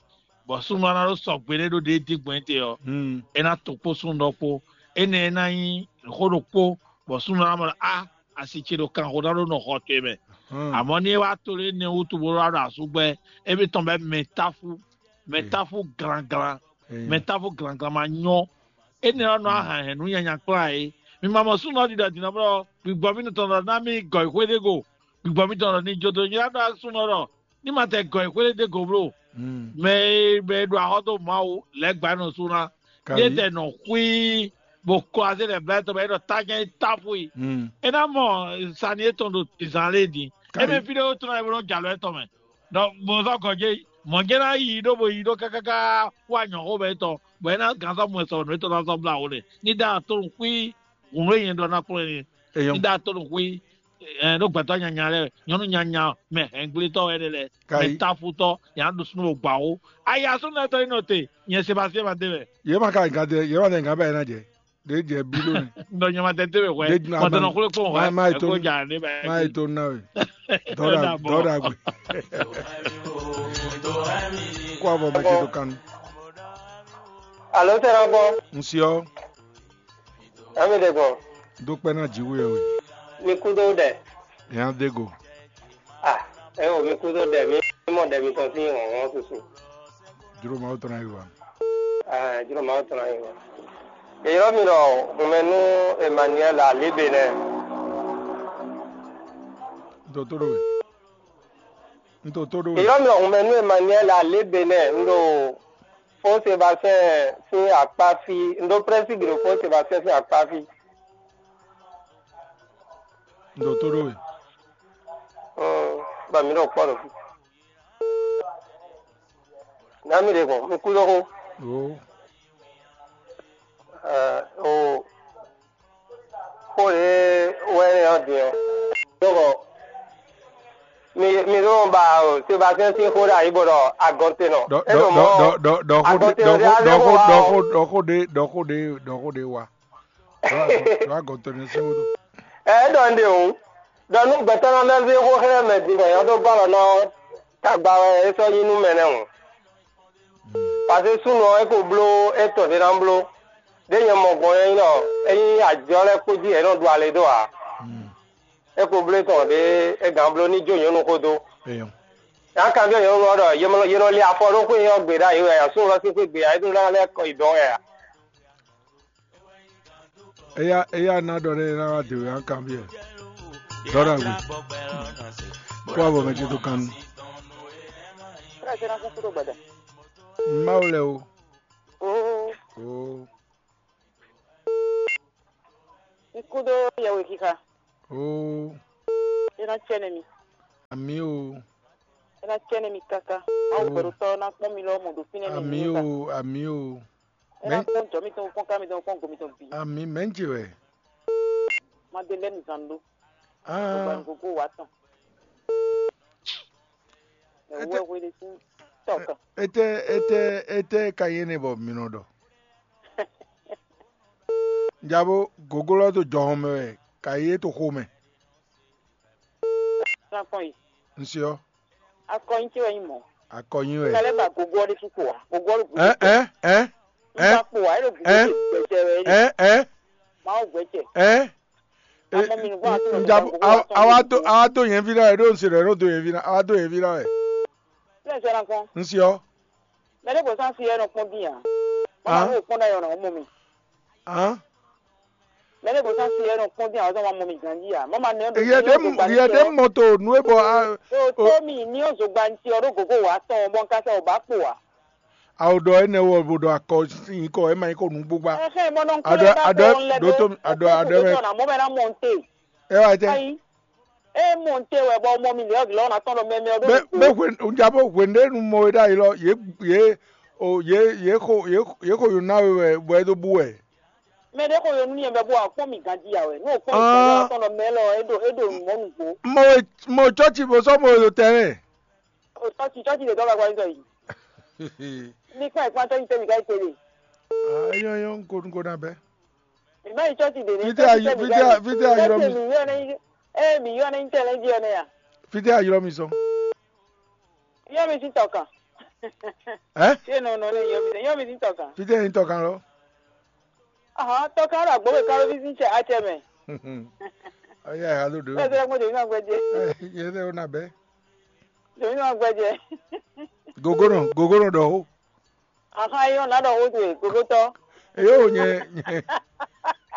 Bɔ súnnu ɔ́ ná ɖó sɔgbe ɖé ɖó ɖě dín gbɔn tɛ́ ɔ́. Hmm. É ná to kpó súnnu ɖɔkpó. Énɛ́ ná nyí xó ɖokpó bɔ súnnu ɔ́ ná mɔ ɖɔ a asi ce ɖo kanxo ná ɖó nɔ xɔ towe mɛ. Hmm. Àmọ́ ní é wá to lé énɛ́ wútu bó wá ɖo asúgbɛ́, é bí tɔn bɛ mɛ táfú mɛ táfú glanglan Eya. mɛ táfú glanglan ma nyɔ́. Énɛ́ ɔ́ nɔ ahàn hɛn nǔ nyanya kplá é. Mi ma mɔ súnnu ɔ́ ɖiɖɔ dǐnà bɔ gbígbɔ mì tɔn ɖɔ ná mì gɔ̌ xwé ɖé go. Gbígbɔ mì tɔn ɖɔ ní jó dó nyí ná ɖɔ súnnu ɔ́ ɖɔ ní ma tɛ gɔ̌ xwé ɖé go bló. Hmm. Mɛ e mɛ e ɖo axɔ́ dó Mawu lɛ́ɛ gba nɔ sú ná. Ní é Kayi. tɛ nɔ xwí bó kɔ azé lɛ blá tɔn bɔ é ɖɔ tájá é táfú yi. Hmm. É ná mɔ sani étɔn ɖo zan lé din. É mɛ Kayi. fí ɖé wó tɔn ná é bó nɔ jalɔ étɔn mɛ. Donc mo zɔ gɔjé mɔ̌ jẹ́ ná yi ɖó bo yi ɖó kákáká wá nyɔ̌xó bɛ étɔn bɔ é ná gǎn sɔ́ mɔ ɛ sɔ̀rọ̀ nǔ étɔn ná sɔ́ blá wo nɛ. Ní ɖá tó nɔ xwí hǔn e nyɛ ɖɔ ná kplɔ́n ɛ ní. Eyɔn. Ní ɖá tó nɔ xwí ɛ ɖó gbɛtɔ́ nyanya lɛ nyɔ̌nu nyanya mɛ hɛngblétɔ́ wɛ ɖe lɛ mɛ Kayi. Táfutɔ́ yě ná ɖo súnnu gbǎ wo. Aya súnnu lɛ́ɛ tɔ́ nyí nɔ te nyɛ Sebastien ma dé mɛ. Yě ma ka gǎn dɛ yě ma dɛ gǎn bá yě ná jɛ. Ɖě jɛ bí lónìí. Nɔ nyɛ ma tɛ dé mɛ hwɛ Ɖě dun mɔ tɛ nɔ agba- xwlé kpɔn ma- ma hwɛ yi tó- ɛkó dza ne bɛ. Má yɛ tó ná wɛ. Dɔwɔɖa Dɔwɔɖa bɔ. dɔwɔɖa gbe. Kó abɔ mɛ ce tó kanu. Alo tɛ na gbɔ. N siɔ Ami de gbɔ. Dó kpɛ ná jǐ wú yɛ wɛ. Mi kú dó dɛ. Yàn dé go. Ah, ɛ o mi kú dó dɛ mi mɔ dɛ mi tɔn sí wɔn wɔn susu. Juro ma wó tɔn ná yi wa. Ah, juro ma tɔn yi wɔn. Eyɔrɔ mi lɔ hunmɛnu Emmanuel Alibe nɛ. N tó tó ɖó we. N tó tó ɖó we. Eyɔrɔ mi lɔ hunmɛnu Emmanuel Alibe nɛ n ɖo Fo Sébastien sín akpá fí, n ɖo Prɛsiglo Fo Sébastien sín akpá fí. N tó tó ɖó we. Mm, ba mi ɖo kpɔ ɖo fí. Na mi ɖe gbɔn, mi kú lóxo. O. Ɛ, o xó ɖé wɛ nɛ ɔ́ din ɔ́. Ɖɔkɔ mi mi ɖo ba o Sébastien sín xó ɖe ayi bɔ ɖɔ agɔntenɔ. Dɔ É dɔ ɖo mɔ dɔ dɔ dɔ xó ɖé agɔntenɔ dɔ ɖé xó azé dɔ xó xó wa dɔ o. xó dɔ xó ɖé dɔ xó ɖé dɔ xó ɖé wa. Dɔ agɔntenɔ sín wóɖó. Ɛ é ɖɔ un ɖe o. Ɖɔ nú gbɛtɔ́ nɔ lɛ́ zé xó xlɛ́ mɛ din bɔ yɛn dó gɔ́ alɔ ná ɔ́, tagba wɛ é sɔ́ nyí nú mɛ nɛ́ hǔn. Paseke súnnu ɔ́, é ko bló étɔn ɖé ná bló. Ɖé nyɛ mɔ gbɔn é nyí ɖɔ é nyí ajɔ lɛ́ɛ kpó jí yě nɔ ɖu ale dó ǎ. É ko bló étɔn ɖé é gǎn bló ní jó nyɔ̌nu xó dó. Eyɔn. Yě ná kanbyɔ́ nyɔ̌nu ɔ́ ɖɔ yě mɔ- yě nɔ lé afɔ ɖó xwé ɔ́ gbe ɖ'ayǐ wɛ ǎ, súnnu ɔ́ sín xwé gbe ǎ, é ɖó ná lɛ́ kɔ yi dɔ̌n wɛ ǎ. Eya eya ná ɖɔ ɖé ná wá dǒ yá kanbyɔ́. Dɔwɔɖa gbe. Kó abɔ mɛ ce tó kanu. Mawu lɛ o. Oo, O. n kú dó yɛwe xixa. O. É ná cɛ nɛ mi. Ami o. É ná cɛ nɛ mi káká. Mawu gbɛɖotɔ́ ná kpɔ́n mi lɔ mɔ ɖo fínɛ́ mi. Ami o, ami o. É ná kpɔ́n jɔ mitɔn kpɔ́n ká mitɔn kpɔ́n go mitɔn bǐ. Ami mɛ̌ ce wɛ? Madeleine Zando. Ah. Gbogbo wá tɔn. Ete- Wɛ hwe ɖe sín tɔkɔ. Ete ete ete ka yé ne bɔ mi nɔ ɖɔ. Njabo gogo lɔ to jɔhɔn mɛ wɛ ka yé to xo mɛ. Ná kpɔn yi. Nsiɔ. Akɔnyi ce wɛ nyí mɔ̌. Akɔnyi wɛ. Kálẹ̀ bá gogo ɔ́ ɖésú kpo wá. Gogo ɔ́ ɖo gúdo. Ɛ ɛ ɛ Nígbà kpo wá, é ɖo gúdo ɛ gbɛjɛ wɛ é ɖe. Ɛ ɛ Mawu gbɛjɛ. Ɛ. Amɔ mi nùgbọ́n àti nùgbọ́n Njabu gbogbo wa tɔn awa lójú do kú. Awa do yẹn vi la wɛ ɖo nse ɖɔ ɖo do yẹn vi la awa do yẹn vi la wɛ. Lẹ́yìn sẹ́ra kpɔn. Nsiɔ. Mɛ ɖé gbɔ sán si yɛ nɔ kpɔn dín a. Mama Hàn? Ló kpɔn dá yɔ nɔ mɔ mi. Hàn? Mɛ ɖé gbɔ sán si yɛ nɔ kpɔn dín a ɔzɔ ma mɔ mi ganji a. Mama nɛ Yɛ ɖe mɔ yɛ ɖe mɔ to nu e bɔ a. Yo o tó mi ní o zogba ntí ɔ ɖó gogo wá tɔn bɔ n ka sɛ o bá kpo a. Awo ɖɔ énɛ́ wɔ bo ɖɔ akɔ nyǐkɔ ɛ ma nyí kɔ nǔgbógbá. Ɛhɛn, mɔ nɔ Aɖɔ- kúlẹ̀ ká aɖɔ- kó lɛ ɖó tó- aɖɔ- aɖɔ- Mɔ mɛ ná mɔ n te. Ɛ wá tɛ. Ayi. E mɔ n te wɛ bɔ mɔ mi lɛ ɔgilɔ na tɔn ɖɔ mɛmɛ ɔ Bɛ ɖo. Bɛ hwe nja bɔ hwe ɖe nu mɔ we ɖ'ayi lɔ ye ye o ye ye xo ye ye xo yo na we wɛ bɔ e do bu wɛ. Mɛ ɖe xo yo nu yɛn bɛ bɔ akpɔn mi ganji ya wɛ. N'o kpɔn mi Ah. Tɔn ɖɔ mɛ lɔ e ɖo e ɖo mɔ nugbo. Mɔ we mɔ cɔci bo sɔ mɔ we do tɛ mɛ. O tɔci tɔci de dɔ ba gba yi. Ni kpɔn ikpɔn tɔci tɛ mi ka yi tele. Ah, eyɔn eyɔn nko nko na bɛ. Mi ma yi tɔci de ne. Fite ayi fite fite ayi lɔ mi. Mi yɔ ne. E mi yɔ ne ntɛlɛ ji yɔ ne ya. Fite ayi lɔ mi sɔn. Yɔ mi si tɔkan. Ɛ? Ṣé nɔ nɔ ne yɔ mi yɔ mi si tɔkan. Fite yin tɔkan lɔ. Ahɔn tɔkan ɖo agbóbe kan ló fi sín cɛ acɛ mɛ. Ɔyɛ alo ɖo. Bẹ́ẹ̀ sẹ́yìn mo dèmí náà gbẹ́jẹ́. Yẹ sẹ́ o na bɛ. Dèmí náà gbẹ́jẹ́. Gogonɔ gogonɔ ɖɔ o. Ahɔn ayé wọn náà ɖɔ o dwe gogotɔ. Eyo nyɛ nyɛ.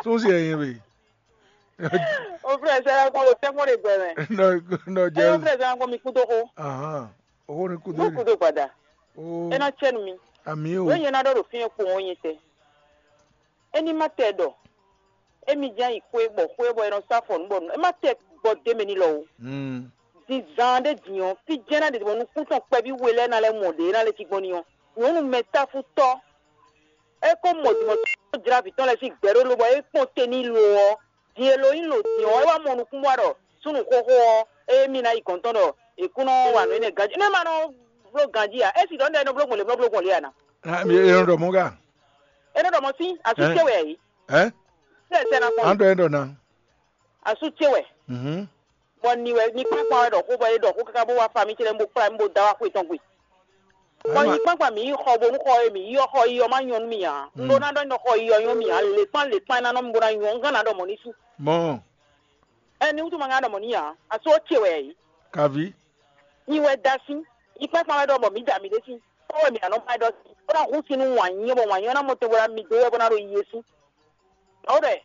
Sún si ɛyin we. O fúnra ẹ sẹ́yìn kọ́ o tẹ́ mọ́ de gbẹ mẹ́. Nɔ nɔ Ẹ yóò jẹ. Fúnra ẹ sẹ́yìn kọ́ mi kú tó kó. Ahan. Owó ni kú Mo dé. Kú tó padà. O Ẹ náà tsẹ́ nu mi. Àmì o. Wọ́n yẹn náà ɖɔ ɖo fi yẹn kpo wọn yẹn tɛ. Eni ma tɛ ɖɔ. Emi jɛ yi xwe bɔ xwe bɔ ɛ nɔ sa fɔ nu bɔ nu. Ema tɛ gbɔ de mɛ ni lɔ o. Mm. Din zan ɖe din ɔ, fi jɛn na ɖe bɔ nukún tɔn kpɛví we lɛ na lɛ mɔ ɖe na lɛ ti gbɔn ni ɔ. Nyɔnu mɛ tafu tɔ. E ko mɔ dimɔ tɔ jra vǐ tɔn lɛ si gbɛ ɖo lo bɔ e kpɔn te ni lo ɔ. Din e lo yin lo din ɔ, e wa mɔ nukún wa ɖɔ sunu xoxo ɔ, e mi na yi gɔn tɔn ɖɔ e kún nɔ wa nɔ enɛ ganji. Ne ma nɔ blo ganji a, e si ɖɔ ne e nɔ blo gbɔn le, nɔ blo gbɔn le a na. Ah, mi e nɔ ɖɔ mɔ ga. E nɔ ɖɔ mɔ si, asu Ɛn? Tse wɛ yi. Ɛ? Sɛ sɛ na kpɔn. An ɖɔ e ɖɔ na. Asu tse wɛ. Mhm. Bɔ ni wɛ ni kpakpa wɛ ɖɔ xó bɔ e ɖɔ xó kaka bó wá fa mi tse lɛ bó kplá mi bó da wá xó etɔn gbe. Bɔ Ama- nyi kpakpa mi yi xɔ bónú xɔ e mi yi ɔ xɔ yi ɔ ma nyɔ nú mi ǎ. Un ɖó ná ɖɔ nɔ xɔ yi ɔ nyɔ mi ǎ. Lěkpán lěkpán e ná nɔ mi bó ná nyɔ un gán ná ɖɔ mɔ̌ ní sú. Mɔ Ɛ ni wútu ma ŋá ɖɔ mɔ̌ ní ǎ. Asu ɔ́ tse wɛ yě. Kaví. Nyi wɛ da sín. Nyi kpakpa wɛ ɖɔ bɔ mǐ da mǐ ɖésú. Kpɔ́ wɛ mǐ ná nɔ ba ɖɔ sí. Bó ná hu sin nú wǎn nyí bɔ wǎn nyí ɔ́ ná mɔ tɛn bó ná mi dó wɛ bó ná ɖo yi yé sí. Nɔ ɖɔ ɛ.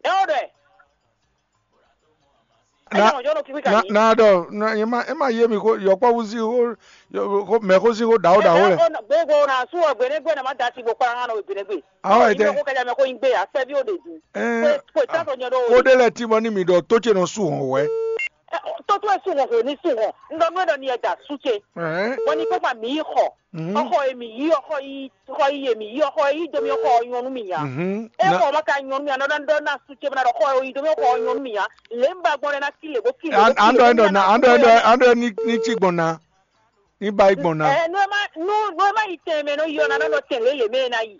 Nɔ ɖɔ ɛ. Na Ɛyɛ ɔjɔ ɖo kíkí na kàní. Na ɖɔ na ye ma e ma ye mi ko yɔkpɔvu si ko yɔ- ko mɛ ko si ko ɖawo ɖawo lɛ. Gbogbo na su ɔ gbɛnɛgbɛ na ma da si bo kpara hã nɔ gbɛnɛgbɛ. Awo Ɔ, ete. Ime ko kɛjá mɛ ko yin gbé ya kpɛví o de dun. Ɛɛ Ko ta sɔ nyɔ ɖo. Ko ɖe lɛ ti mɔ ni mi ɖɔ tó ce nɔ su hɔn wɛ. Tó tó ɛ su hɔn hɔn ni su hɔn. N ɖɔ nú ɛ ɖɔ ni ɛ da su ce. Ɛɛ Bɔ ni kpɛkpa mi yi xɔ. Mhm. Ɔxɔ e mi yi ɔxɔ yi xɔ yi e mi yi ɔxɔ e yi domi ɔxɔ nyɔnu mi ya. Mhm. E Na- xɔ ma ka nyɔnu mi ya nɔ ɖɔ na su ce bena ɖɔ xɔ e yi domi ɔxɔ nyɔnu mi ya. Le n ba gbɔn ɖe na kile bo kile. An an dɔ ɛn dɔ na an dɔ ɛn dɔ an dɔ ɛn ni ni ci gbɔn na ni ba yi gbɔn na. Ɛ nu e ma nu nu e ma yi tɛn mɛ nɔ yi ɔ na nɔ tɛn lele mɛ na yi.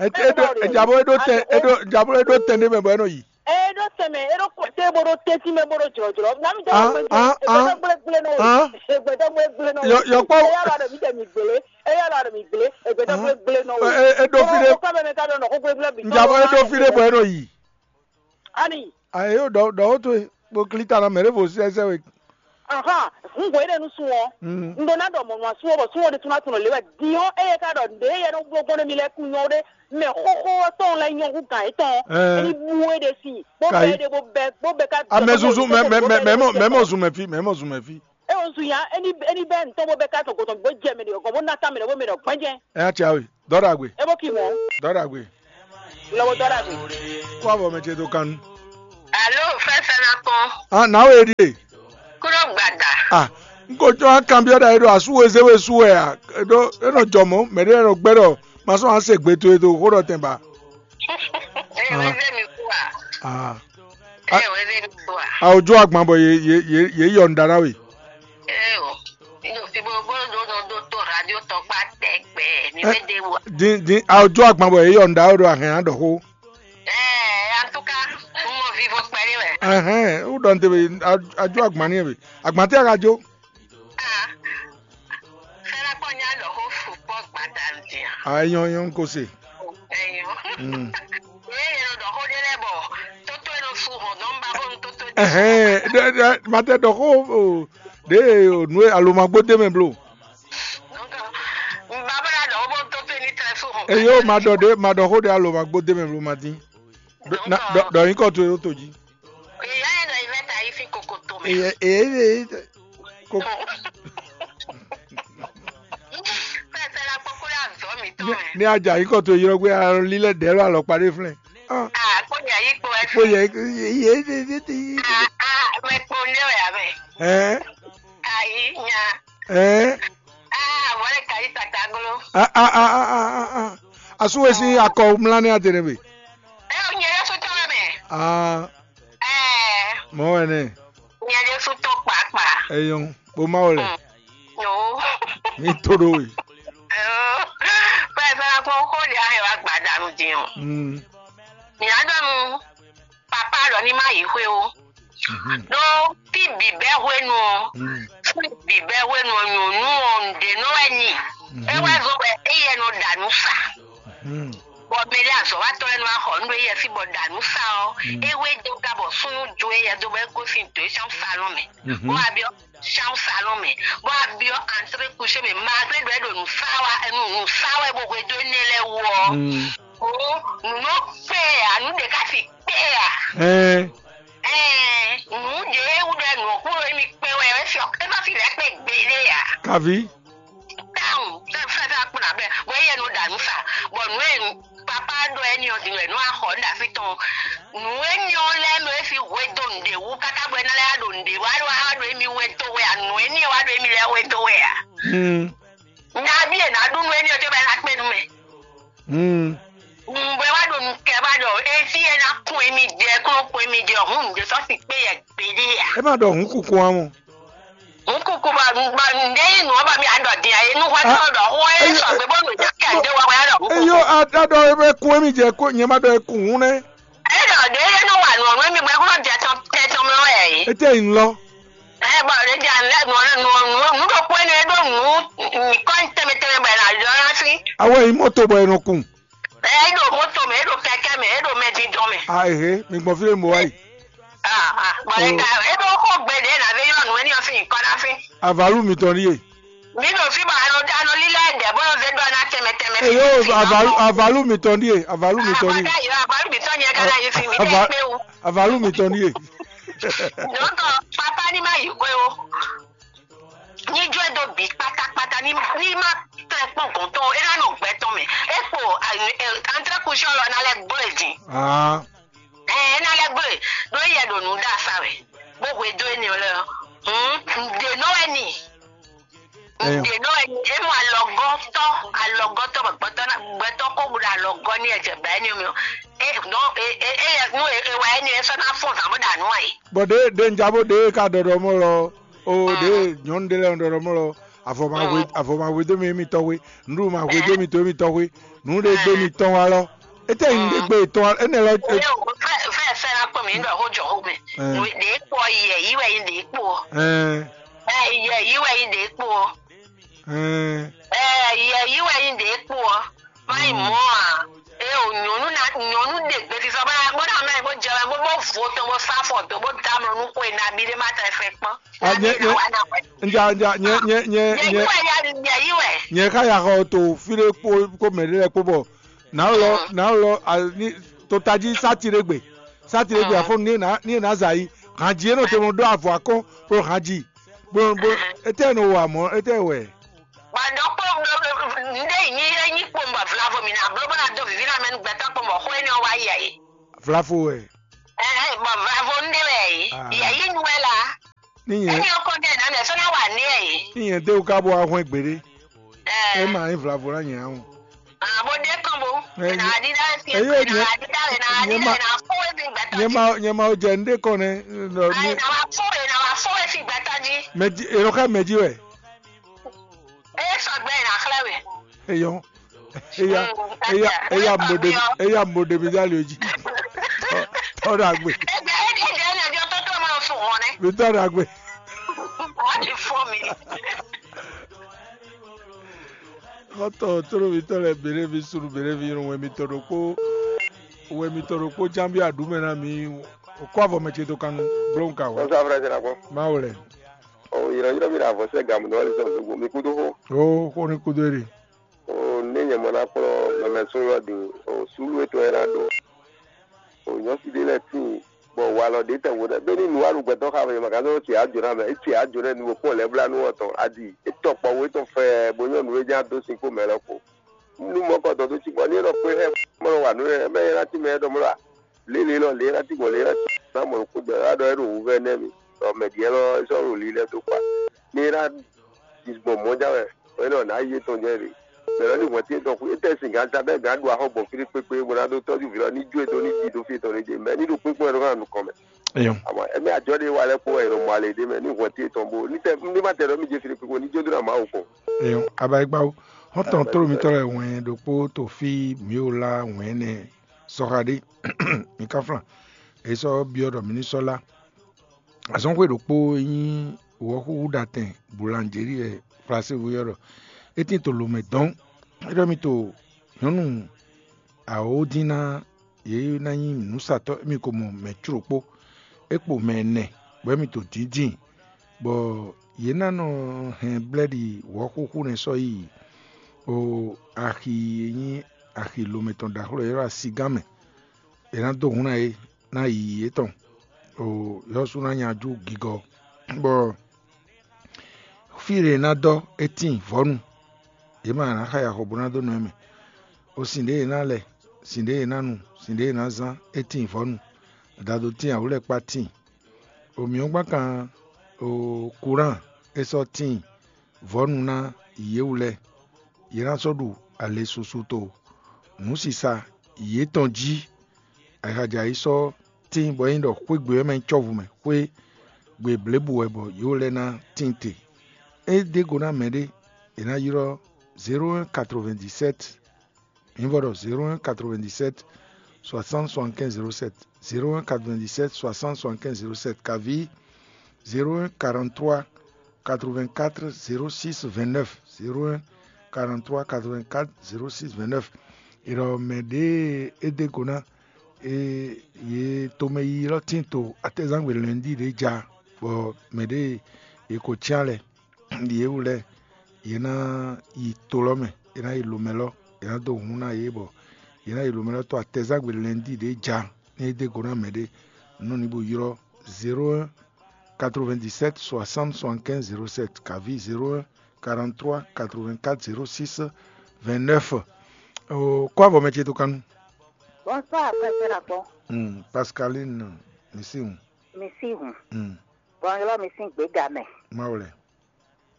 Ɛ ɛ do ɛ jabo e do tɛn e do jabo e do tɛn de mɛ bɔ e nɔ yi. Ɛ e do tɛn mɛ e do kɔ te bo do tɛntin mɛ bo do jlɔjlɔ na mi jɛ Ah, wɔ gbɛgbɛ ah, ah. Egbɛdɔ gblɛgblɛ nɔ Ah. Egbɛdɔ gblɛgblɛ nɔ Yɔ- yɔkpɔ- Eya la dɔ mi tɛ mi gbele eya la dɔ mi gbele egbɛdɔ Ah. gblɛgblɛ nɔ Ɛ ɛ e do fi de Kɔ bɛ mɛ ka dɔ nɔ ko gblɛgblɛ bi. Njabɔ e do fi de bɔ e nɔ yi. Ani. Ayi o dɔ dɔ o to e kpo kili ta na mɛ ɖe vo sɛsɛ we. Ahan, hun hwe ɖe nu sun ɔ. Mm. N ɖo na ɖɔ mɔnɔ sun ɔ bɔ sun ɔ ɖe tún na tún le wɛ. Diɔ eye ka ɖɔ ɖe yɛ nɔ gbogbo ne mi lɛ kun nyɔ ɖe mɛ xoxo tɔn lɛ nyɔ hu gan etɔn. Ɛɛ. Eni bu e ɖe si. Bo Kai. Bɛ ɖe bo bɛ bo bɛ ka. Amɛ zuzu mɛ mɛ mɛ mɛ mɛ mɔ mɛ mɔ zun mɛ fi mɛ mɔ zun mɛ fi. E o zun ya eni eni bɛ ntɔn bo bɛ ka tɔn gɔtɔn bo jɛ mɛ de gɔn bo na ta mɛ de bo mɛ de gbɛnjɛ. Ɛ ya tia we dɔ ɖagbe. E bo ki mɔ. Dɔ ɖagbe. Lɔbɔ dɔ ɖagbe. Kó avɔ mɛ ce to kan nu. Alo, fɛfɛ na kpɔn. Ah, na we ɖie. Kúrò gbada. Ah, n ko jɔ akanbyɔ́ ɖa é ɖo asú e zé we sú wɛ a? É ɖo é nɔ jɔ mɔ̌, mɛ ɖé nɔ gbɛ́ ɖɔ ma sɔ́ ǎ se gbe towe do xó ɖɔ tɛn ba. Ɛ wɛ zé mi kú a? Ah. Ɛ wɛ zé mi kú a? A o jó agban bɔ yě yě yě yě yɔ nǔɖaɖa we. Ɛ o. Ní o fi bó bó ɖó nɔ ɖó tó radio tɔn kpá tɛgbɛ ní Ɛ, bɛ dé wa. Din din a o jó agban bɔ yě yɔ nǔɖaɖa we ɖo ahɛn á ɖɔ xó. Ɛ, en tout cas, un mɔ vivo kpɛɖé wɛ. Ɛhɛn, o ɖɔ n te be a a jó agban ní e be. Agban tɛ a ka jó? Ah, fɛlɛ kpɔ nya ɖɔ xó fu kpɔ gbadanu din a? A é nyɔ́ é nyɔ́ un ko se. Ɛyɔ. Mm. Ye ye ɖɔ xó ɖé lɛ bɔ tótó e nɔ su hɔn dɔn ba bó nu tótó e. Ɛhɛn, ɖe ɖe ma tɛ ɖɔ xó o ɖe o nu e alo ma gbó dé mɛ blo. Donc, un ba bó na ɖɔ xó bó nu tótó e ní tlɛ su hɔn. Eyo ma ɖɔ ɖe ma ɖɔ xó ɖe alo ma gbó dé mɛ blo ma dín. Ɖɔ nyǐkɔ towe ɖó to jí. Èyí á yɛ ɖɔ ìvẹ́ ta yìí fi kòkò tó mɛ. Èyí èyí èyí kò. Fẹ́ fẹ́ la kpɔkpɔ la zɔ mi tó mɛ. Ní ajá yìí kò tó yrɔ gbé alɔ lílẹ̀ dẹ́ lọ alɔ kpaɖé flẹ̀. Ah, kó yà yí kpo ẹ Kó fi. Yẹ yẹ yẹ yẹ yẹ. Ah, ah, mɛ kpo ndé wɛ abɛ. Ɛ Ayi nya. Ɛ Ah, wọlé kayi tata glo. A a a a a a. Asu we sin akɔ mla ne adene be. Ɛ o nyɛ yɛ sotɔ wɛ mɛ. Ah, Ɛ mɔ wɛ ne. Nyɛ yɛ sotɔ kpakpa. Eyɔn, bo ma wɛ lɛ. No. Mi to do we. Pɛ fɛ ko ko di ahe wa gbadanu din o. Mm. Mi adɔnu papa lɔ ni ma yi xwe o. Mhm. Ɖó fí bǐbɛ́ hwenu ɔ́, Mm. fí bǐbɛ́ hwenu ɔ́, nyɔ̌nu ɔ́, nǔɖé nɔ wɛ nyi. Mhm. É wɛ zɔ́n bɔ éyɛ́ nɔ ɖa nǔ sa. Mhm. Bɔ mɛ ɖé azɔ̌watɔ́ lɛ́ɛ nɔ wá xɔ nǔ ɖo éyɛ́ fí bɔ ɖa nǔ sa ɔ́, Mm. é wé dó ga bɔ súnnu jó éyɛ́ dó bɔ é gosín dǒ é sín salɔn mɛ. Mhm. Bó wá byɔ́ sín salɔn mɛ, bó wá byɔ́ antré kuxé mɛ, malgré ɖɔ é ɖo nǔ sa wá, nǔ nǔ sa wɛ bó hwedó énɛ́ lɛ́ɛ wú ɔ́. Mm. Ó, nǔ nɔ kpé ɛ ǎ, nǔ ɖě ká fi kpé ɛ ǎ. Ɛɛ, Ɛɛ, nǔ ɖě wú ɖɔ nǔ ɔ́ kúɖo émí kpé wɛ, é fi é má fi lɛ́ kpé gbeɖé ǎ. Kaví. Táwọn fɛfɛ́ fɛ́ kpɔ́n abẹ́ bɔ éyɛ́ nɔ ɖa nǔ sa, bɔ nǔ e papá ɖɔ ɛ́ ní ɔ́ din wɛ nú axɔ ɖo así tɔn. Nǔ éní ɔ́ lɛ́ɛ mɛ é fi hwe dó nǔɖé wú káká bɔ é ná lɛ́ wá ɖo nǔɖé wá ɖo wá ɖo émí hwe dó wɛ ǎ, nǔ éní ɔ́ wá ɖo émí lɛ́ɛ hwe dó wɛ ǎ. Hmm. Nyaví e ná ɖu nú éní ɔ́ cóbɔ é ná kpé nú mɛ. Hmm. Nǔgbɛ wá ɖo nukɛ wá ɖɔ éfí e ná kún émí jɛ kún kún émí jɛ hǔn nǔɖé sɔ́ si kpé yɛ gbeɖé ǎ. É má ɖɔ hǔn kunkun ǎ mɔ. Hǔn kunkun bɔ bɔ nǔɖé yí nǔ ɔ́ bɔ mí aɖɔ din ǎ é nú hwɛ tɔn ɖɔ hwɛ é sɔgbe bó nǔ jɛ kɛ ɖé wá wá ɖɔ hǔn Eyó kunkun. Aɖɔ é kún émí jɛ kó nyɛ má ɖɔ é kún hǔn nɛ́. É ɖɔ ɖě é nɔ wa nǔ ɔ́ nú émí gbɛ kó nɔ jɛ tɔn tɛ tɔn mɛ wɛ yě. Étɛ́ nyí lɔ. Ɛ bɔ ɖě jɛ nǔ nǔ nǔ nǔ ɖokpó énɛ́ é ɖó nǔ nyǐkɔ tɛnmɛ tɛnmɛ bɔ è nǎ ylɔ́ ná sí. Awɔ é nyí mɔto bɔ è nɔ kun. Ɛ é ɖo moto mɛ, é ɖo kɛkɛ mɛ, é ɖo mɛdindɔn mɛ. A ehe, mi gbɔn fí ɖé mo wá yi. Ah, ah, bɔ é ka é ɖo xó gbe ɖě nǎ vé ylɔ́ nǔ éní ɔ́ sín nyǐkɔ ná fín. Avalu mitɔn ɖíe. Mǐ ɖo fí bɔ a nɔ a nɔ lílɛ́ ɖɛ̌ bó nɔ zé ɖɔ ná tɛnmɛ tɛnmɛ fí. Eyo fí, fí, avalu fí. Avalu mitɔn ɖíe, avalu mitɔn ɖíe. Aka yi avalu mitɔn nyɛ ka ná yi fí mi Ava- ɖe kpé wú. Avalu mitɔn ɖíe. Dɔ̌nkɔ papá ní má yi xwé o. Ní jó e dó bǐ kpátákpátá ní ní má tɛ kpɔ́n gɔ̌n tɔn é ná nɔ gbɛ tɔn mɛ. É kpo antrɛ́kushɔ́ lɔ ná lɛ́ gbló e din. Ah, Ɛ é ná lɛ́ gbló e ɖó yɛ ɖo nǔ ɖa sa wɛ bó hwedó énɛ́ ɔ́ lɛ́ɛ ɔ́. Hǔn ǹdě nɔ wɛ ni. Ǹdě nɔ wɛ ni é mɔ alɔgɔ́tɔ́ alɔgɔ́tɔ́ bɔ gbɛtɔ́ ná gbɛtɔ́ kó bu ɖo alɔgɔ́ ní ɛjɛ bɛ̌ ní mì ɔ́. É nɔ é é é nú é é wɛ énɛ́ é sɔ́ ná fɔ́n zǎn bó ɖa nǔ ǎ é. Bɔ ɖě ɖě un ja bó ɖě ka ɖɔɖɔ mɔ lɔ o ɖě nyɔ̌nu ɖé lɛ́ɛ ɖɔɖɔ mɔ lɔ avɔ ma hwe avɔ ma hwe dó mi émi tɔ́ hwe nǔɖuɖu ma hwe dó mi to émi tɔ́ hwe nǔɖé gbé mi tɔn wa lɔ étɛ́ nyí ɖé gbé tɔn wa énɛ́ lɔ Fɛ fɛ fɛ la kpɔ mi ɖɔ xó jɔ xó mɛ. Ɖě kpɔ yɛ yí wɛ yí ɖě kpɔ. Ɛɛ Ɛ yɛ yí wɛ yí ɖě kpɔ. Ɛɛ Ɛ yɛ yí wɛ yí ɖě kpɔ. Má yi mɔ a. E o nyɔnu na nyɔnu ɖe gbesisɔ bá bó na mɛ bó jɛ bó bó vo tɔn bó sá fɔ tó bó dá mlɔ nú xwe nabí ɖé má tɛ fɛ kpɔn. A nyɛ nyɛ nja nja nyɛ nyɛ nyɛ Yɛ yí nyɛ wɛ ya yɛ yí wɛ. Nyɛ xa ya xɔ to fi ɖé kpó kó mɛ ɖé lɛ kpó bɔ nǎ lɔ nǎ lɔ a ní totají sáti ɖé gbe sáti ɖé gbe afɔ ní e nǎ ní e nǎ zǎ yi hǎnjí é nɔ te mɔ ɖó avɔ akɔ́n kpló hǎnjí bó bó étɛ́ nɔ wa mɔ̌ étɛ́ wɛ. Bɔ ɖokpó ŋɖé yi nyi é nyi kpowun bɔ vlavo mǐ ná bló bó ná dó vǐví ná mɛ nú gbɛtɔ́ kpowun bɔ xó énɛ́ ɔ́ wá yi ɛ. Vlavo wɛ. Ɛhɛn, bɔ vlavo ŋɖé wɛ yě. Ah. Yě yí nu wɛ la. Ní nyɛ, Eni ɔkɔ ɖe nane sɔ na wa ne e. Ní nyɛ de wú ká bó wá hwɛ́n gbeɖé. É ma nyí vlavo ná nyɛ ǎ o. Abo ɖe kɔn bo. Ena aɖi ɖa fi. Eye ena nyɛ, aɖi ɖa ena aɖi nyɛ ɖa ma, ena fo e fi gbata nyɛ ji. Ma, nyɛ ma jɛ nɖe kɔn nɛ. Ayi na wa fo ena wa fo e fi gbata ji. Mɛ ji, eno ká mɛ ji wɛ. Eye sɔgbe ena xlɛ we. Eyɔn. Eya, eya, eya mo ɖe mi, eya mo ɖe mi dali oji. Tɔ ɖagbe. Ebe edi edi edi edi ɔtɔtɔ ma fún wọn nɛ. Mi tɔ ɖagbe. Wọ́n ti fún mi. Xɔtɔ toro mi tɔ lɛ bere mi sunu bere mi yɔn wɛ mi tɔ ɖokpo, wɛ mi tɔ ɖokpo jambi aɖumɛ na mi. O kɔ avɔ mɛ ce to kanu blɔn ka wɛ. Sɔsɔ afrɛ jɛ na kpɔ. Ma wlɛ. O yɔrɔ yɔrɔ mi na avɔ sɛ gamu nɔ wali sɔn gbogbo mi kudo xo. O xo ni kudo eri. O ne nyɛ mɔ na kplɔ mɛmɛ sun lɔ din o sulu etɔn yɛ na ɖo. O nyɔsi ɖe lɛ tin bɔ walɔ ɖe tɛ wo ɖe beni nu alu gbɛtɔ xa fɛ ma ka zɔ tsi adzo na mɛ etsi adzo nɛ nu kpɔ lɛ bla nu ɔtɔn adi etɔ kpɔ wo etɔn fɛ bo nyɔ nu e nya do sin kpo mɛ lɔ ko nu mɔ kɔ dɔ do tsi bɔ ni e nɔ kpe hɛ mɔ wa nu e mɛ yɛ na ti mɛ dɔ mɔ la lele lɔ le na ti bɔ le na ti na mɔ ko dɔ la dɔ e ɖo wu vɛ nɛ mi dɔ mɛ diɛ lɔ e sɔ ɖo li lɛ do kpa ni e na disbɔ mɔ ja wɛ o e nɔ na yi etɔn jɛ ɖe mɛ lɔ ni hwɛ ti etɔn ku etɛ sin gan ta bɛ gan ɖu axɔ gbɔn fili kpekpe bo na do tɔju vi lɔ ni ju etɔn ni ti do fi etɔn ni je mɛ ni ɖo kpekpe wɛ ɖo kan nukɔn mɛ Eyo. Àmọ́ ẹ̀mí àjọ ɖé wà lẹ́kpọ̀ ẹ̀rọ mọ́ alẹ́ ɖé mɛ ní hwɛ̌n tí etɔn bó ní tɛ ní má tɛ ɖɔ mí jɛ fili kpikpo ní jódó nà Mawu kpɔn. Eyo. Abayigbawo. Hɔn tɔn toro mitɔ lɛ wɛn ɖokpo to fi mio la wɛn nɛ sɔxa ɖé. Mi ka flan. E sɔ biɔ ɖɔ mi ní sɔ la. Azɔnxwe ɖokpo e nyí wɔxúxú ɖatɛn Boulangerie wɛ Flasevo yɔ ɖɔ. E tin to lomɛ dɔn. E ɖɔ mi to nyɔnu awodin ná yě ná nyí nǔsatɔ́ émí ko mɔ mɛ có ɖokpó, é kpo mɛ ɛnɛ, bɔ émí to dǐndín, bɔ yě ná nɔ hɛn blɛ́ɖi wɔ̌xúxú nɛ́ sɔ́ yi axi e nyí axi lomɛ tɔn ɖaxó lɔ e ylɔ́ asigán mɛ; è nǎ dó hǔn ná yě ná yi yětɔn, ɖo yɔ́sú ná nyajú gigɔ, bɔ fí ɖě è nǎ dɔ́ é tíin vɔ̌nu; yě mɛ a nǎ xa yi axɔ bó ná dó nɔ ɛ mɛ. O sin ɖě è nǎ lɛ, sin ɖě è nǎ nu, sin ɖě è nǎ zán, é tíin vɔ̌nu; adado tíin, awǔlɛ́kpá tíin. O mǐ ɔ́ gbán kan o Kulán é sɔ́ tíin vɔ̌nu ná yě wú lɛ́ɛ; yě ná sɔ́ ɖu ale susu to nǔsisa yětɔn jí. Ayixa jɛ ayǐ sɔ́ tíin bɔ é nyí ɖɔ xwé gbe ɔ́ mɛ nyí cɔ́vu mɛ, xwé gbe blěbǔ wɛ bɔ yě wú lɛ́ɛ ná tíin te. É ɖe go ná mɛɖé, è nǎ ylɔ́ zéro un quatre-vingt-dix-sept, mi vɔ ɖɔ zéro un quatre-vingt-dix-sept soixante soixante-quinze zéro sept, zéro un quatre-vingt-dix-sept soixante soixante-quinze zéro sept, kaví zéro un quarante-trois quatre-vingt-quatre zéro six vingt-neuf, zéro un quarante-trois quatre-vingt-quatre zéro six vingt-neuf. È ɖɔ mɛ ɖě é ɖe go ná e yě tomɛ yiyi lɔ tín to atɛzangbe lɛ̌nɖi ɖě ja, bɔ mɛ ɖě è ko cyán lɛ yě wú lɛ́ɛ, yě ná yi to lɔ mɛ, yě ná yi lomɛ lɔ, yě ná dó hun ná yě, bɔ yě ná yi lomɛ lɔ to atɛzangbe lɛ̌nɖi ɖě ja, ní é ɖe go ná mɛ ɖé, nú ní bó ylɔ́ zéro un quatre-vingt-dix-sept soixante soixante-quinze zéro sept, kaví zéro un quarante-trois quatre-vingt-quatre zéro six vingt-neuf. Kó avɔ mɛ ce to kanu. Bonsoir, frère Akpɔ. Hmm, Pascaline, mi si hun. Mi si hun. Hmm. Bon, ylɔ́ mi sín gběga mɛ. Má wlɛ.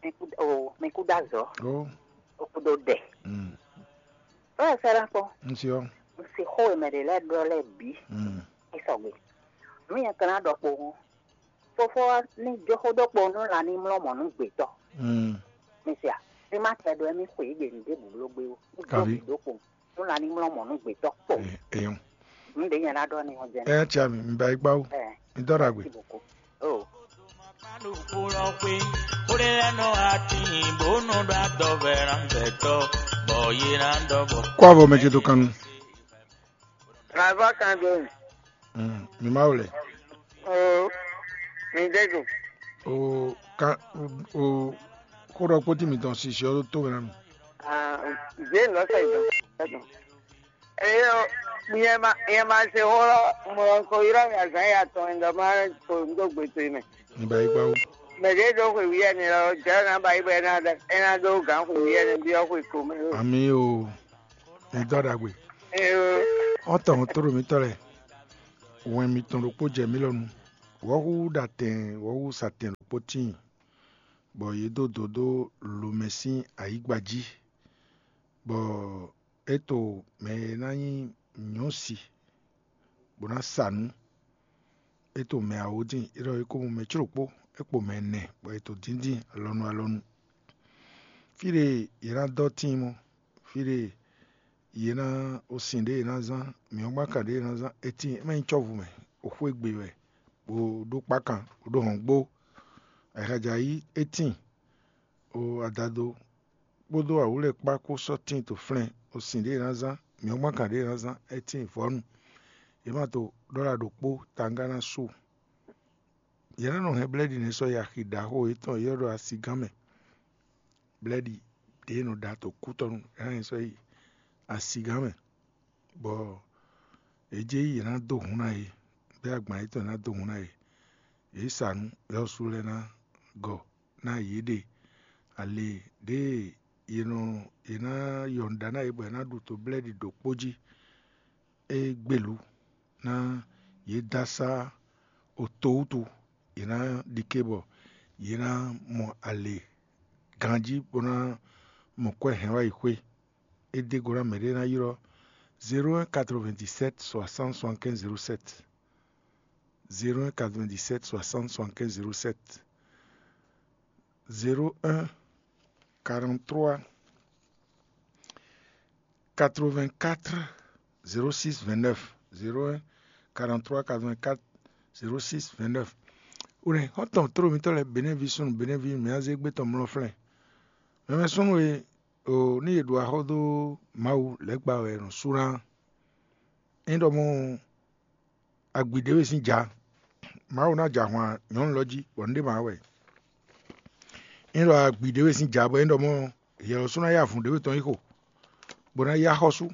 Mi kú o, mi kú dá zɔ. Ó, O kú dó dɛ. Hmm. Frère Akpɔ. N si ɔ. N si xó e mɛ ɖě lɛ́ɛ ɖɔ lɛ́ɛ bǐ. Hmm. É sɔgbe. Nú nyɛ ka ná ɖɔ kpowun. Fofó ɔ́ ní jó xó dó kpowun nú lan ní mlɔ́ mɔ̌ nú gbětɔ́. Hmm. Mi se a? Ní má tɛ ɖɔ émí xwe yě gbe nǔɖé bǔbló gbé ó. Ní jó Kavi. Xó dó kpowun nú lan ní mlɔ́ mɔ̌ nú gbětɔ́ kpowun. Eyɔn. Nǔ ɖě nyɛ ná ɖɔ ní ɔ́ jɛ́n. Ɛ tia mi, mi ba yi gbá wú. Ɛ. Mi dɔ ɖagbe. Merci beaucoup. Oh. Kó avɔ mɛ ce to kanu. Ava kan do. Mm, mi ma wlɛ. Oh, mi de do. O kan o xó ɖɔ kpótí mitɔn sisi ɔ́ tó mɛ nú mi. Ah, Jane lɔ sɛ idɔn. Eyo, nyɛ ma nyɛ ma se xó lɔ mɔ ko yrɔ mi azan ya tɔn ndɔ ma ko ndo gbe to mɛ. Ní bá yí gbá wú. Mɛ ɖě ɖo xwe wíyɛ́ ni lɔ, jɛ na ba yi bɔ ena da ena ɖó gǎn xwe wíyɛ́ ni byɔ́ xwe ko mɛ. Ami o, ní dɔ ɖagbe. Eyo. Ɔtɔn tó ɖo mítɔ lɛ. Wɛn mitɔn ɖokpó jɛ mí lɔ nu. Wɔ̌xú ɖatɛn, wɔ̌xú satɛn. kpó tíin, bɔ yě dó dǒ dó lǒmɛ sín ayǐgba jí, bɔ é to mɛ e ná nyí nyɔ̌si bó ná sa nǔ. É to mɛ awǒ dín, é ɖɔ é ko mɔ mɛ cóɖokpó, é kpo mɛ ɛnɛ, bɔ è to díndín alɔnu alɔnu. Fí ɖe yě ná dɔ́ tíin mɔ́, fí ɖe yě ná osin ɖě yě ná zán, mǐ ɔ́ gbán kan ɖě yě ná zán, é tíin, é má nyí cɔ́vu mɛ, o xwé gbe wɛ, bó ɖó kpákan, bó ɖó hɔ̌ngbó. Ayǐhɔ́ngbe é tíin, o adado kpódó awǔlɛ́kpá kpó sɔ́ tíin to flɛ́n, osin ɖě yě ná zán, mǐ ɔ́ gbán kan ɖě yě ná zán, é tíin vɔ̌nu. Yě ma to ɖɔ́la ɖokpó tangá ná su. Yě ná nɔ hɛn blɛ́ɖi nɛ́ sɔ́ yi axi ɖaxó yětɔn e ylɔ́ ɖɔ asigán mɛ. Blɛ́ɖi ɖě e nɔ ɖa to kútɔnu é ná nyi sɔ́ yi asigán mɛ, bɔ yě jɛ yí yě ná dó hun ná yě, bɔ agban yětɔn ná dó hun ná yě. Yě sa nǔ, yɔ́sú lɛ́ɛ ná gɔ ná yě ɖe ale ɖě yě nɔ yě ná yɔn ɖa ná yě bɔ yě ná ɖu to blɛ́ɖi ɖokpó jí. É gbelú ná yě dó asá oto wútu, yě ná ɖi ké bɔ yě ná mɔ alě ganjí bó ná mɔ kwɛ́ hɛn wá yi xwé. É dó go ná mɛ ɖé ná ylɔ́ zéro un quatre-vingt-dix-sept soixante soixante-quinze zéro sept, zéro un quatre-vingt-dix-sept soixante soixante-quinze zéro sept, zéro un quarante-trois quatre-vingt-quatre zéro six vingt-neuf, zéro un quarante-trois quatre-vingt-quatre zéro six vingt-neuf. Wlɛ̌ xɔ́ntɔn tlóló mitɔ́ lɛ́ɛ Benɛ́vi súnnu Benɛ́vi mǐ ná zé gbé tɔn mlɔ́ flɛ́n. Mɛmɛ súnnu e o ní yě ɖu axɔ́ dó Mawu lɛ́ gba wɛ è nɔ sú ná. Ényí ɖɔ mɔ agbi ɖěwe sín ja, Mawu ná jɛ ahwan nyɔ̌nu lɔ jí, bɔ nǔ ɖé ma wá wɛ. Ényí ɖɔ agbi ɖěwe sín ja, bɔ é ɖɔ mɔ yɛ̌lɔ́ sú ná yá avǔn ɖěwe tɔn yi xo, bó ná yá xɔ́sú,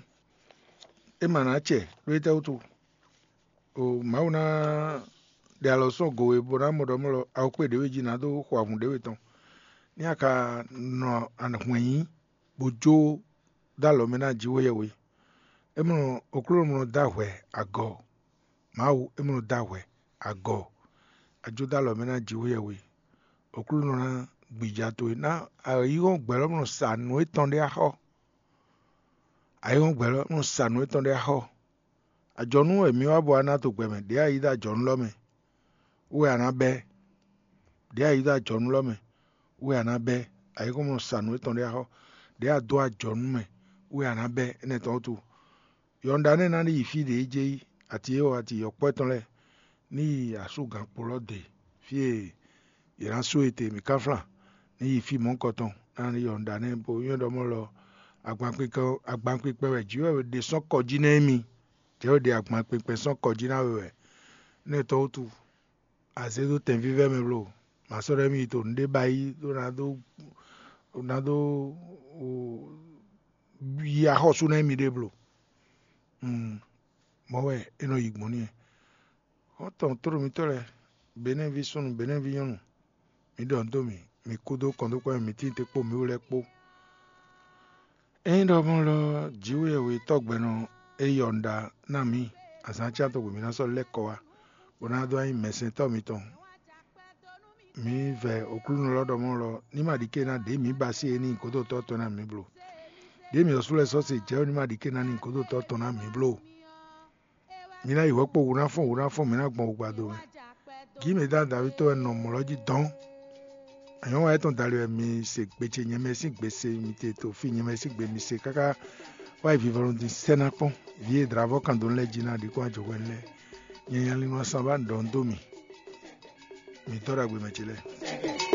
é ma ná acɛ ɖó étɛ́ wútu? O Mawu ná ɖe alɔ sɔ́ go we bó ná mɔ ɖɔ mɔ lɔ awokpé ɖěwe jí ná dó xo avǔn ɖěwe tɔn. Ní a ka nɔ hwɛ̌n yí bó jó dó alɔ mɛ ná Jǐxwéyɛhwe. É mɔ Oklúnɔ mɔ dó ahwɛ agɔ. Mawu é mɔ dó ahwɛ agɔ. A jó dó alɔ mɛ ná Jǐxwéyɛhwe. We. Oklúnɔ ná gbìjà towe ná ayǐhɔ́ngbe lɔ mɔ sa nǔ étɔn ɖé axɔ. Ayǐhɔ́ngbe lɔ mɔ sa nǔ étɔn ɖé axɔ. Ajɔnú wɛ mǐ wá bɔ a ná to gbɛ mɛ, ɖě a yí dó ajɔ̌nú lɔ mɛ wɛ a nǎ bɛ́. Ɖě a yí dó ajɔ̌nú lɔ mɛ wɛ a nǎ bɛ́. Ayǐhɔ́ngbe mɔ sa nǔ étɔn ɖé axɔ. Ɖě a dó ajɔ̌nú mɛ wɛ a nǎ bɛ́. Énɛ́ tɔn wútu, yɔnɖa nɛ́ ná ní yi fí ɖě é jɛ yi, ati e wɔ ati yɔkpɔ́ tɔn lɛ́ɛ ní yi asúgǎnkpo lɔ de, fí e yě ná sú e te mǐ ká flán ní yi fí mɔ̌hunkɔtɔn ná ní yɔnɖa nɛ́ bó nywɛ́ ɖɔ mɔ lɔ agbankpikpɛ wɛ jǐ wɛ ɖe sɔ́ kɔ jí nɛ́ émí. Jɛ́ wɛ ɖe agbankpikpɛ sɔ́ kɔ jí ná we wɛ. Nɛ́ tɔn wútu, a zě dó tɛn vívɛ́ mɛ bló, mǎ sɔ́ ɖɔ émí yi to nǔɖé ba yí ɖó ná dó ná dó yi axɔ́sú ná émí ɖé bló. Mɔ̌ wɛ é nɔ yi gbɔn n'i. Xɔ́ntɔn tlóló mitɔ́ lɛ́ɛ, Benɛ́ví súnnu, Benɛ́ví nyɔ́nu, mi ɖɔ nǔ dó mì, mi kúdó kɔndókpɔ́ mɛ mitɔn te kpó mǐ wú lɛ́ɛ kpó. Ényí ɖɔ mɔ̌ lɔ, Jǐxwéyɛhwe tɔ́gbɛ́nɔ e yɔnɖa ná mǐ azǎn cátɔn mǐ ná sɔ́ lɛ́ kɔ wá, bó ná dó nyí mɛsɛntɔ́ mitɔn. Mǐ vɛ Oklúnɔ lɔ ɖɔ mɔ̌ lɔ, ní ma ɖi ké ná ɖě mǐ ba sí e ní nyí gǒdotɔ́ tɔn ná mǐ bló. Ɖě mǐ ɔ́ sú lɛ́ɛ sɔ́ se jɛ̌ ɔ́, ní ma ɖi ké ná ní nyí gǒdotɔ́ tɔn ná mǐ bló. Mi ná yi hwɛ̌ kpo wǔ ná fɔ́n wǔ ná fɔ́n, mi ná gbɔn wǔgbado mɛ. Gǐ mǐ dó David tɔ́ wɛ nɔ mɔ̌ lɔ jí dɔn. Anyɔ̌ŋwa étɔn dali wɛ mi se gbe ce nyɛ mɛ sín gbe se, mi te to fí nyɛ mɛ sín gbe mi se káká wá yi vivɔnu din sɛ́ ná kpɔ́n. Vǐ e dlǎvɔ́ kan dó lɛ́ jí ná ɖi kpɔ́n ajɔ̌ hwɛ lɛ́ɛ. Nyɛ nyalinu asan ba ɖɔ un dó mi. Mi dɔ́ ɖagbe mɛ ce lɛ́ɛ.